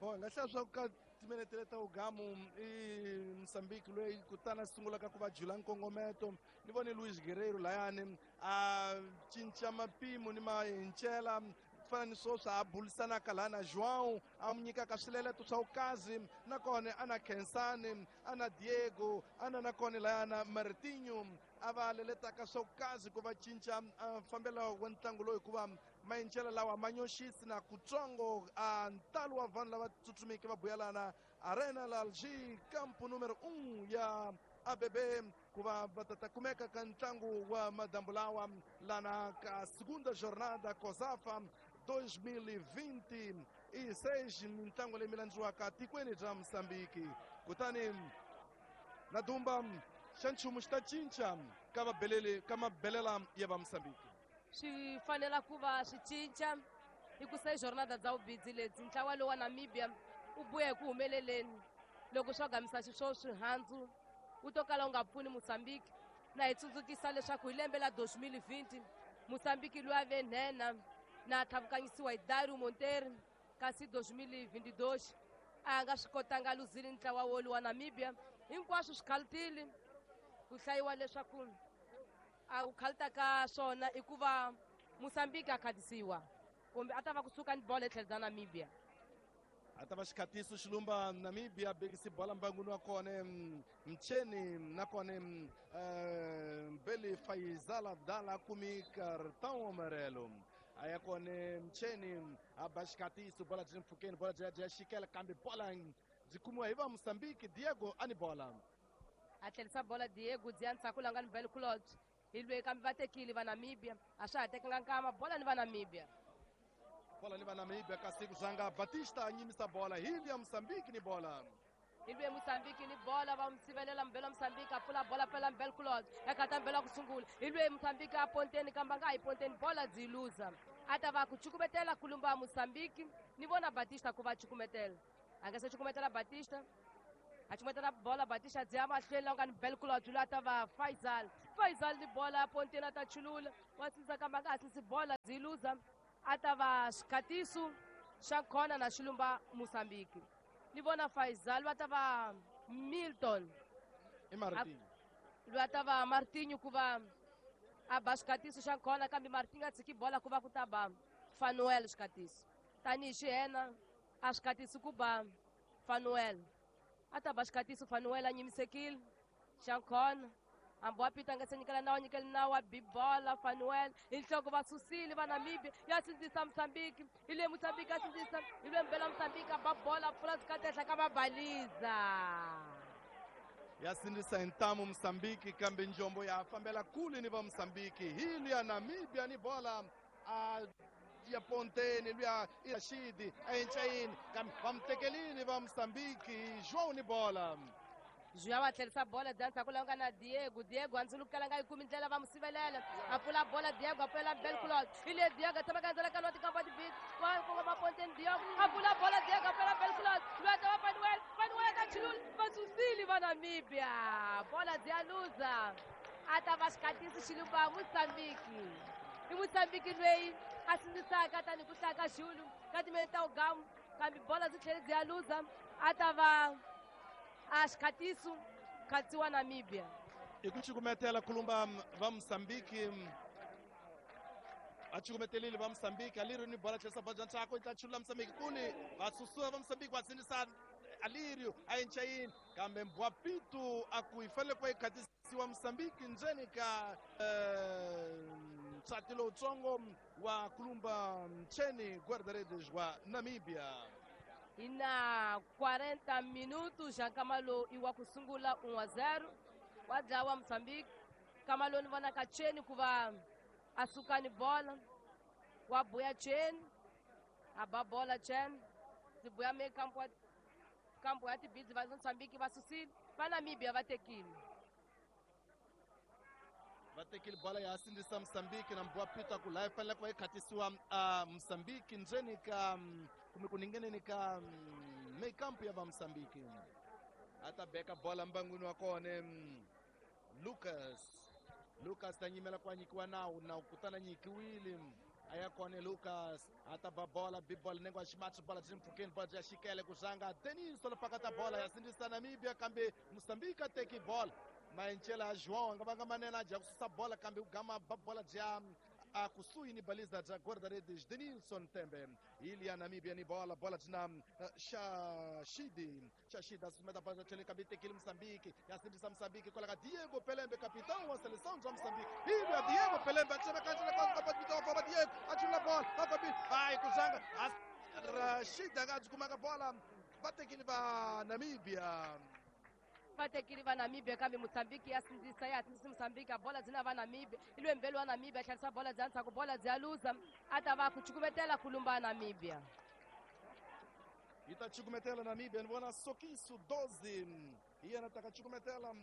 Speaker 5: Bo nga hlaya swa ku ka timinete leta ugamu i Mosambiki loyi kutani a sungulaka ku va jula nkongometo. Ni vone Luis Guerreiro layani a cinca mapimo ni mahincela fana ni swoswi a bulisanaka laha na João a mu nyikaka swileleto swa vukazi nakona a na Khensani a na Diego a na nakona layana Martinho a va leletaka swa vukazi ku va cinca fambelo wa ntlangu lowu hikuva mayincela lawa ma nyoxisi na kutsongo a ntalo wa vanhu lava tsutsumeke va buyelana Arena la Alger campo número 1 ya ABB ku va va ta kumeka ka ntlangu wa madambu lawa lana ka segunda jornada COSAFA 2026 mintlangu leyi mi landziwaka tikweni bya Mosambiki. Kutani na dumba xa nchumu xi ta cinca ka vabeleli ka mabelela ya va Mosambiki.
Speaker 4: Swi fanela ku va swi cinca hi ku se jornada dza vubidzi lebyi ntlawa lowu wa Namibia u buya hi ku humeleleni loko swa gamisa xiswoswi handzu wu to kala wu nga pfuni Mosambiki. Na hi tsundzukisa leswaku hi lembe la 2020 Moçambique loyi a ve nhenha na tlhavukanyisiwa hi Dario Monteiro kasi 2022 a nga swi kotanga luzile ntlawa wolu wa Namibia. Hinkwaswo swi khalutile ku hlayiwa leswaku a ku khaluta ka swona i ku va Moçambique a khatisiwa kumbe a ta va kusuka ni bolo etlhelo bya Namibia.
Speaker 5: A ta va xikhatiso xilumba Namibia bekisi bola mbangwini wa kona Mcheni nakona Mbeli Faizal Abdala kumi cartão amarelo. A ya kona Mcheni a ba xikhatiso bola byi mpfhukeni bola byi ya xikela kambe bola byi kumiwa hi va Mozambique. Diego a ni bola
Speaker 4: a tlherisa bola Diego dziya ndzhaku la nga ni Bel Claude hi lweyi kambe va tekile va Namibia a swa ha tekanga nkama bola ni va Namibia.
Speaker 5: Bola ni va Namibia kasi kuzanga Batista a nyimisa bola hi ya Mozambique ni bola.
Speaker 4: Hi lweyi Mozambique ni bola va n'wi sivelela mbelo Mozambique a pfula bola pfela Bel Claude eka ta mbelo ku sungula hi lweyi Mozambique a ponteni kambe a nga yi ponteni bola byi luza a ta va ku cukumetela kulumba Mozambique ni vona Batista ku va cukumetela a nga se cukumetela Batista a cukumetela bola Batista dziya mahlweni la nga ni Bel Claude loyi a ta va Faisal. Faisal ni bola a ponteni a ta chulula wa sindzisa kambe a nga ha sindzisi bola byi luza a ta va xikhatiso xa khona na xilumba Mozambique. Ni vona Faisal va ta va Milton
Speaker 5: i Martinho
Speaker 4: loyi a ta va Martinho ku va a ba xikhatiso xa khona kambe Martinho a tshiki bola ku va ku ta ba Fanuel xikhatiso tanihi xihena a xikhatiso ku ba Fanuel a ta ba xikhatiso Fanuel a nyimisekile xa khona hambi wa pita nga se nyikela nawu nyikela nawu wa bibola Fanuel hi nhloko va susile va Namibia ya sindzisa Mozambique hi le Mozambique a sindzisa hi le mbela Mozambique a ba bola pfula sikatehla ka mabaliza
Speaker 5: ya sindzisa hi ntamu Mozambique kambe njombo ya fambela kule ni va Mozambique hi ya Namibia ni bola a ya ponteni luya i Rashidi a encayini kambe va mu tekelile va Mozambique João ni bola.
Speaker 4: João a tlherisa bola bya ndzhaku la nga na Diego. Diego a ndzulukela nga yi kumi ndlela va mu sivelela a pfula bola Diego a pfulela Bel Claude hi le Diego a tshama ka ndzela ka lwa tikamba tibit wa kongoma ponteni Diego a pfula bola Diego a pfulela Bel Claude loyi a ta va Fanuel. Fanuel a ta chulula va susile va Namibia bola byi ya luza a ta va xikhatiso xilumba Mozambique. I Mozambique loyi a sindzisaka tanihi ku hlaya ka Xulu ka timene ta ugamu kambe bola byi tlhele byi ya luza a ta va a xikhatiso khatsiwa Namibia.
Speaker 5: I ku cukumetela kulumba va Mozambique a cukumetelile va Mozambique Alirio ni bola tlherisa bola bya ntsako yi ta chulula Mozambique kule va susuwa va Mozambique va sindzisa Alirio a encayini kambe Mbwapitu a ku yi fanele ku va yi khatisiwa Mozambique ndzeni ka nsati lowutsongo wa kulumba Mcheni guarda-redes wa Namibia.
Speaker 4: Hi na 40 minutos xa nkama lowu i wa ku sungula 1-0 wa dlawa Mozambique. Nkama lowu ni vonaka Cheni ku va a suka ni bola wa buya Cheni a ba bola Cheni ndzi buya me kampo ya tibidzi va Mozambique va susile va Namibia va tekile.
Speaker 5: Va tekile bola ya sindzisa Mozambique na Mbwapita ku laha yi fanele ku va yi khatisiwa Mozambique ndzeni ka kumbe ku ningeneni ka mekampu ya va Mozambique. A ta beka bola mbangwini wa kona Lucas. Lucas ta nyimela ku a nyikiwa nawu nawu kutani a nyikiwile a ya kona Lucas a ta ba bola bibola nengo wa ximatsi bola byi mpfhukeni bola byi ya xikele ku zanga Denis lopakata bola ya sindzisa Namibia kambe Mozambique a teki bola maencela João a nga vanga manene a dya ku susa bola kambe ku gama ba bola bya a kusuhi ni baliza bya guarda-redes Denilson Tembe ili ya Namibia ni bola bola byi Shashidi Shashidi a susumeta bola tlhelo kambe yi tekile Mozambique ya sindzisa Mozambique kwala ka Diego Pelembe capitão wa seleção bya Mozambique ili ya Diego Pelembe a tsema kanjela ka Diego a chula bola a fambile vai ku zanga Rashid a nga byi kumanga bola va tekile va Namibia.
Speaker 4: Va tekile va Namibia kambe Mozambique ya sindzisa ya sindzisa Mozambique a bola byi na va Namibia i lwe mbelo wa Namibia a tlherisa bola bya ndzhaku bola byi ya luza a ta va ku cukumetela kulumba Namibia.
Speaker 5: Yi ta cukumetela Namibia ni vona Sokiso 12 hi yena ta ka cukumetela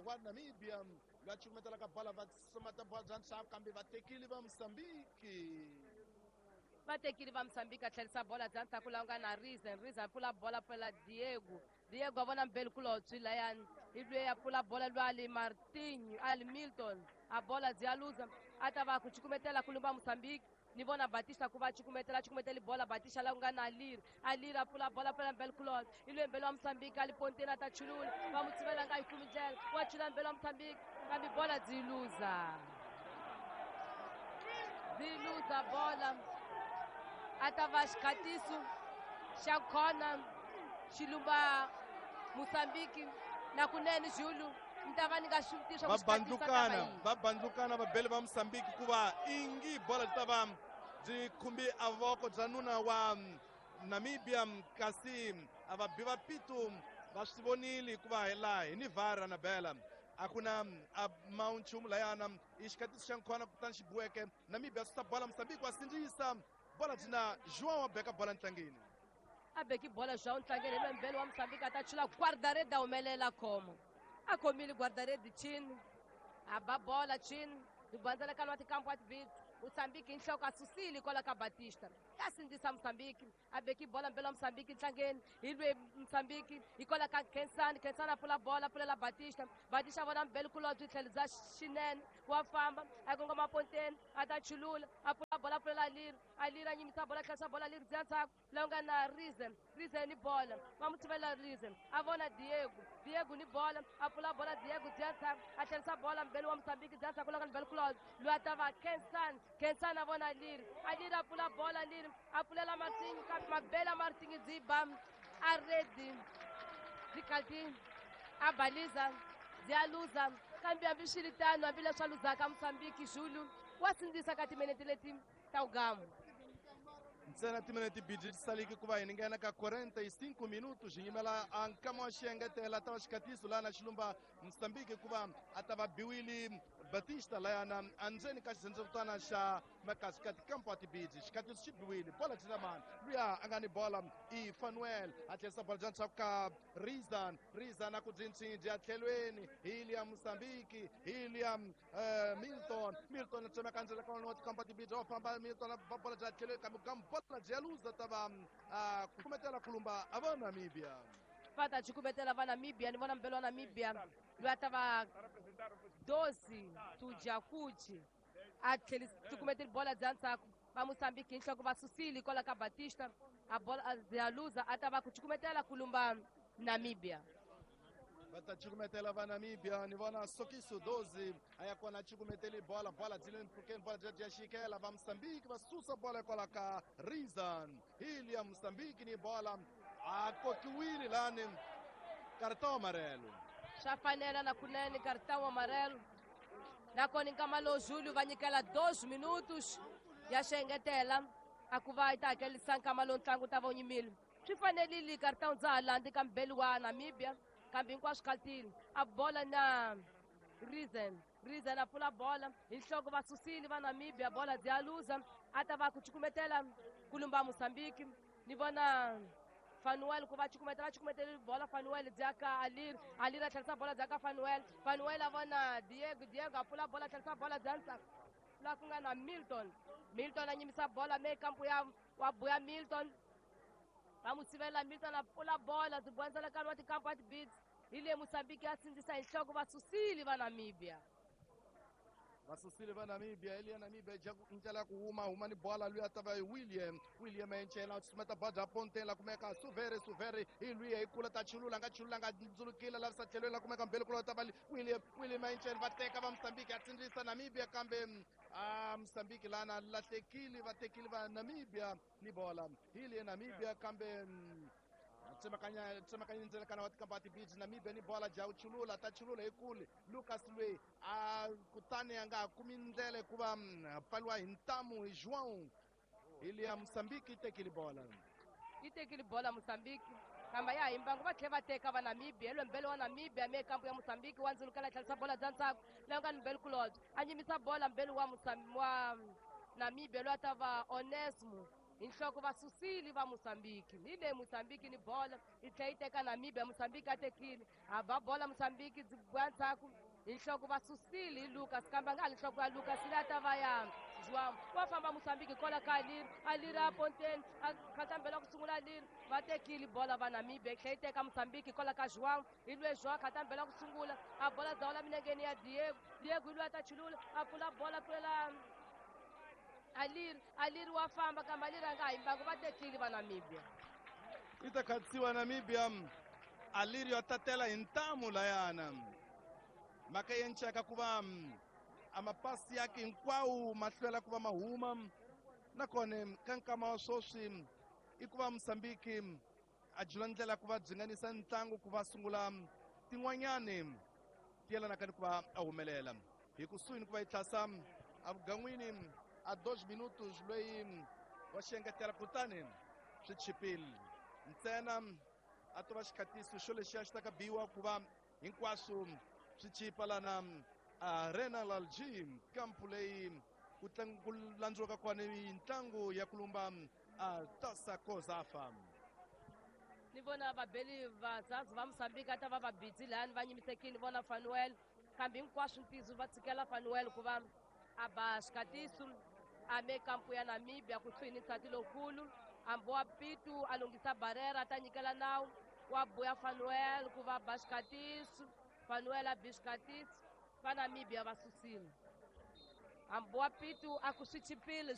Speaker 5: wa Namibia loyi a cukumetela ka bola va somata bola bya ndzhaku kambe va tekile va Mozambique.
Speaker 4: Va tekile va Mozambique a tlherisa bola bya ndzhaku laha nga na Rizen. Rizen a pfula bola pfela Diego. Diego a vona Mbeli Kulotsi layani hi lweyi a pfula bola lwa ali Martinho ali Milton a bola byi ya luza A ta va ku cukumetela ku lumba Mozambique. Ni vona Batista ku va cukumetela, cukumeteli bola Batista la ku nga na Alir. Alir a pfula bola, pfula Mbele Kulot. I lwe Mbele wa Mozambique, ali ponteni a ta chulula. Va mu tshivela nga yi kumi ndlela. Wa chula Mbele wa Mozambique, kambe bola byi luza. Byi luza bola. A ta va xikhatiso xa khona xi lumba Mozambique. Na kunene Zulu, ni ta va ni nga swi tivi swa ku xikhatiso a ta va yini.
Speaker 5: Va bandlukana vabeli va Mozambique ku va ingi bola byi ta va byi khumbi a voko bya nuna wa Namibia, kasi a va bi va pitu va swi vonile hikuva hi laha hi ni VAR na bela a ku na a ma nchumu layana i xikhatiso xa nkhona kutani xi biweke Namibia susa bola Mozambique wa sindzisa bola byi na João wa beka bola ntlangeni.
Speaker 4: A beki bola João ntlangeni hi lwembele wa Mozambique a ta chula guarda-rede a humelela khomo. A khomile guarda-rede chini, a ba bola chini, hi bandzela wa tikampu wa tibits. Mozambique hi nhloko a susile kwala ka Batista. Ya sindzisa Mozambique, a beki bola mbele wa Mozambique ntlangeni, hi lwe Mozambique hi kwala ka Khensani, Khensani a pfula bola, pfulela Batista. Batista a vona mbele kulobye tlhelo bya xinene, wa famba, a kongoma ponteni, a ta chulula, a pfula bola, pfulela Alir. Alir a nyimisa bola, tlherisa bola Alir bya ndzhaku, la nga na Rizen, Rizen ni bola, va mu tshivela Rizen, a vona Diego, Diego ni bola, a pfula bola Diego bya ndzhaku, a tlherisa bola mbele wa Mozambique bya ndzhaku la nga ni mbele kulobye, loyi a ta va Khensani, Khensani a vona Alir, Alir a pfula bola Alir, a pfulela Martin, kambe mabela Martin byi ba a ready, byi khalti a baliza, byi a luza, kambe hambi swi ri tano, hambileswi a luzaka Mozambique Zulu wa sindzisa ka timinete leti ta wugamu.
Speaker 5: Ntsena timinete bidi ti saliki ku va hi nghena ka 45 minutos hi yimela a nkama wa xiengetela ta va xikhatiso laha na xilumba Mozambique ku va a ta va biwile Batista layana endzeni ka xirhendzevutana xa makasi ka tikampo wa tibidi xikhatiso xi biwile bola byi na mani luya a nga ni bola i Fanuel a tlherisa bola bya ndzhaku ka Rizan, Rizan a ku byi ya tlhelweni hi liya Mozambique hi liya Milton, Milton a tsemeka ndzela ka wa tikampo wa tibidi wa famba Milton a ba bola bya tlhelweni kambe ka bola byi ya luza ta va ku kumetela kulumba a va Namibia.
Speaker 4: Va ta cukumetela va Namibia, ni vona mbele wa Namibia loyi a ta va 12 Tujakuchi a tlhelis cukumeteli bola bya ndzhaku va Mozambique hi nhloko va susile kwala ka Batista a bola bya luza a ta va ku cukumetela kulumba Namibia.
Speaker 5: Va ta cukumetela va Namibia, ni vona Sokiso 12 a ya kona cukumeteli bola, bola byi le mpfhukeni, bola bya bya xikela va Mozambique va susa bola kwala ka Rizan, hi liya Mozambique ni bola a kokiwile lani cartão amarelo.
Speaker 4: Swa fanela na kunene cartão amarelo. Nakona nkama lowu Zulu va nyikela 2 minutos ya xengetela a ku va yi ta hakelisa nkama lowu ntlangu ta va wu nyimile. Swi fanerile cartão dza ha landzi ka mbeli wa Namibia, kambe hinkwaswo khaltile. A bola na Rizen, Rizen a pfula bola hi nhloko va susile va Namibia, bola byi ya luza a ta va ku cukumetela ku lumba Mozambique. Ni vona Fanuel ku va cukumetela, cukumetela bola Fanuel bya ka Alir, Alir a tlherisa bola bya ka Fanuel, Fanuel a vona Diego, Diego a pfula bola tlherisa bola bya ndzhaku la ku nga na Milton, Milton a nyimisa bola me kampu ya wa buya Milton, va mu sivela Milton a pfula bola byi bonisela nkarhi wa tikampu wa tibits hi le Mozambique ya sindzisa hi nhloko va susile va Namibia.
Speaker 5: Va susile va Namibia, Elia Namibia ja ndlela ya ku huma, huma ni bola luya ta va William, William a encela sumeta bola bya ponteni la kumeka Suvere, Suvere hi luya hi kula ta chulula nga chulula nga ndzulukile lavisa tlhelweni la kumeka mbele kula ta va William, William a encela va teka va Mozambique ya tsindzisa Namibia kambe Mozambique lana lahlekile va tekile va Namibia ni bola hi le Namibia kambe tsemakanya tsemakanya ndzela kana wa tikampa tibiji Namibia ni bola ja chulula ta chulula hi kule Lucas lwe a kutani a nga kumi ndlela hikuva pfaliwa hi ntamu hi João hi liya Mozambique yi tekile bola.
Speaker 4: Yi tekile bola Mozambique kambe ya hi mbangu va tlhela va teka va Namibia hi lwembele wa Namibia me kampu ya Mozambique wa ndzulukela tlherisa bola bya ndzhaku la nga ni mbele kulobye a nyimisa bola mbele wa wa Namibia loyi a ta va Onesmo hi nhloko va susile va Mozambique. Hi le Mozambique ni bola yi tlhela yi teka Namibia, Mozambique a tekile a ba bola Mozambique byi bwa ndzhaku hi nhloko va susile hi Lucas kambe a nga ha li nhloko ya Lucas leyi a ta va ya João wa famba Mozambique kola ka Aliri, Aliri a ponteni a khatambela ku sungula Aliri, va tekile bola va Namibia yi tlhela yi teka Mozambique kola ka João, hi lwe João khatambela ku sungula a bola dzawula milengeni ya Diego, Diego hi lwe a ta chulula a pfula bola pfulela Aliri, Aliri wa famba kambe Aliri a nga ha yimbangi, va tekile va Namibia.
Speaker 5: Yi ta khatsiwa Namibia, Aliri ya tatela hi ntamu layana. Mhaka yi enceka ku va a mapasi yake hinkwawo ma hlwela ku va ma huma, nakona ka nkama wa sweswi i ku va Mozambique a jula ndlela ku va byi ntlangu ku va sungula tin'wanyani ti yelanaka ni ku va a humelela hi kusuhi ni ku va yi tlhasa evugan'wini a 2 minutos loyi wa xiengetela, kutani swi chipile ntsena a to va xikhatiso xo lexiya xi ta ka biwa ku va hinkwaswo swi chipa lana Arena Lalji, kampu leyi ku ku landziwaka kona ntlangu ya kulumba a Taça COSAFA.
Speaker 4: Ni vona vabeli vazazi va Mozambique a ta va va busy lani va nyimisekile vona Fanuel, kambe hinkwaswo ntiyiso va tshikela Fanuel ku va a ba xikatiso a me kampu ya Namibia kusuhi ni nsati lowukulu hambi wa Pitu a lunghisa barera a ta nyikela nawu wa buya Fanuel ku va ba xikatiso, Fanuel a bi xikatiso, va Namibia va susile hambi wa Pitu a ku swi chipile.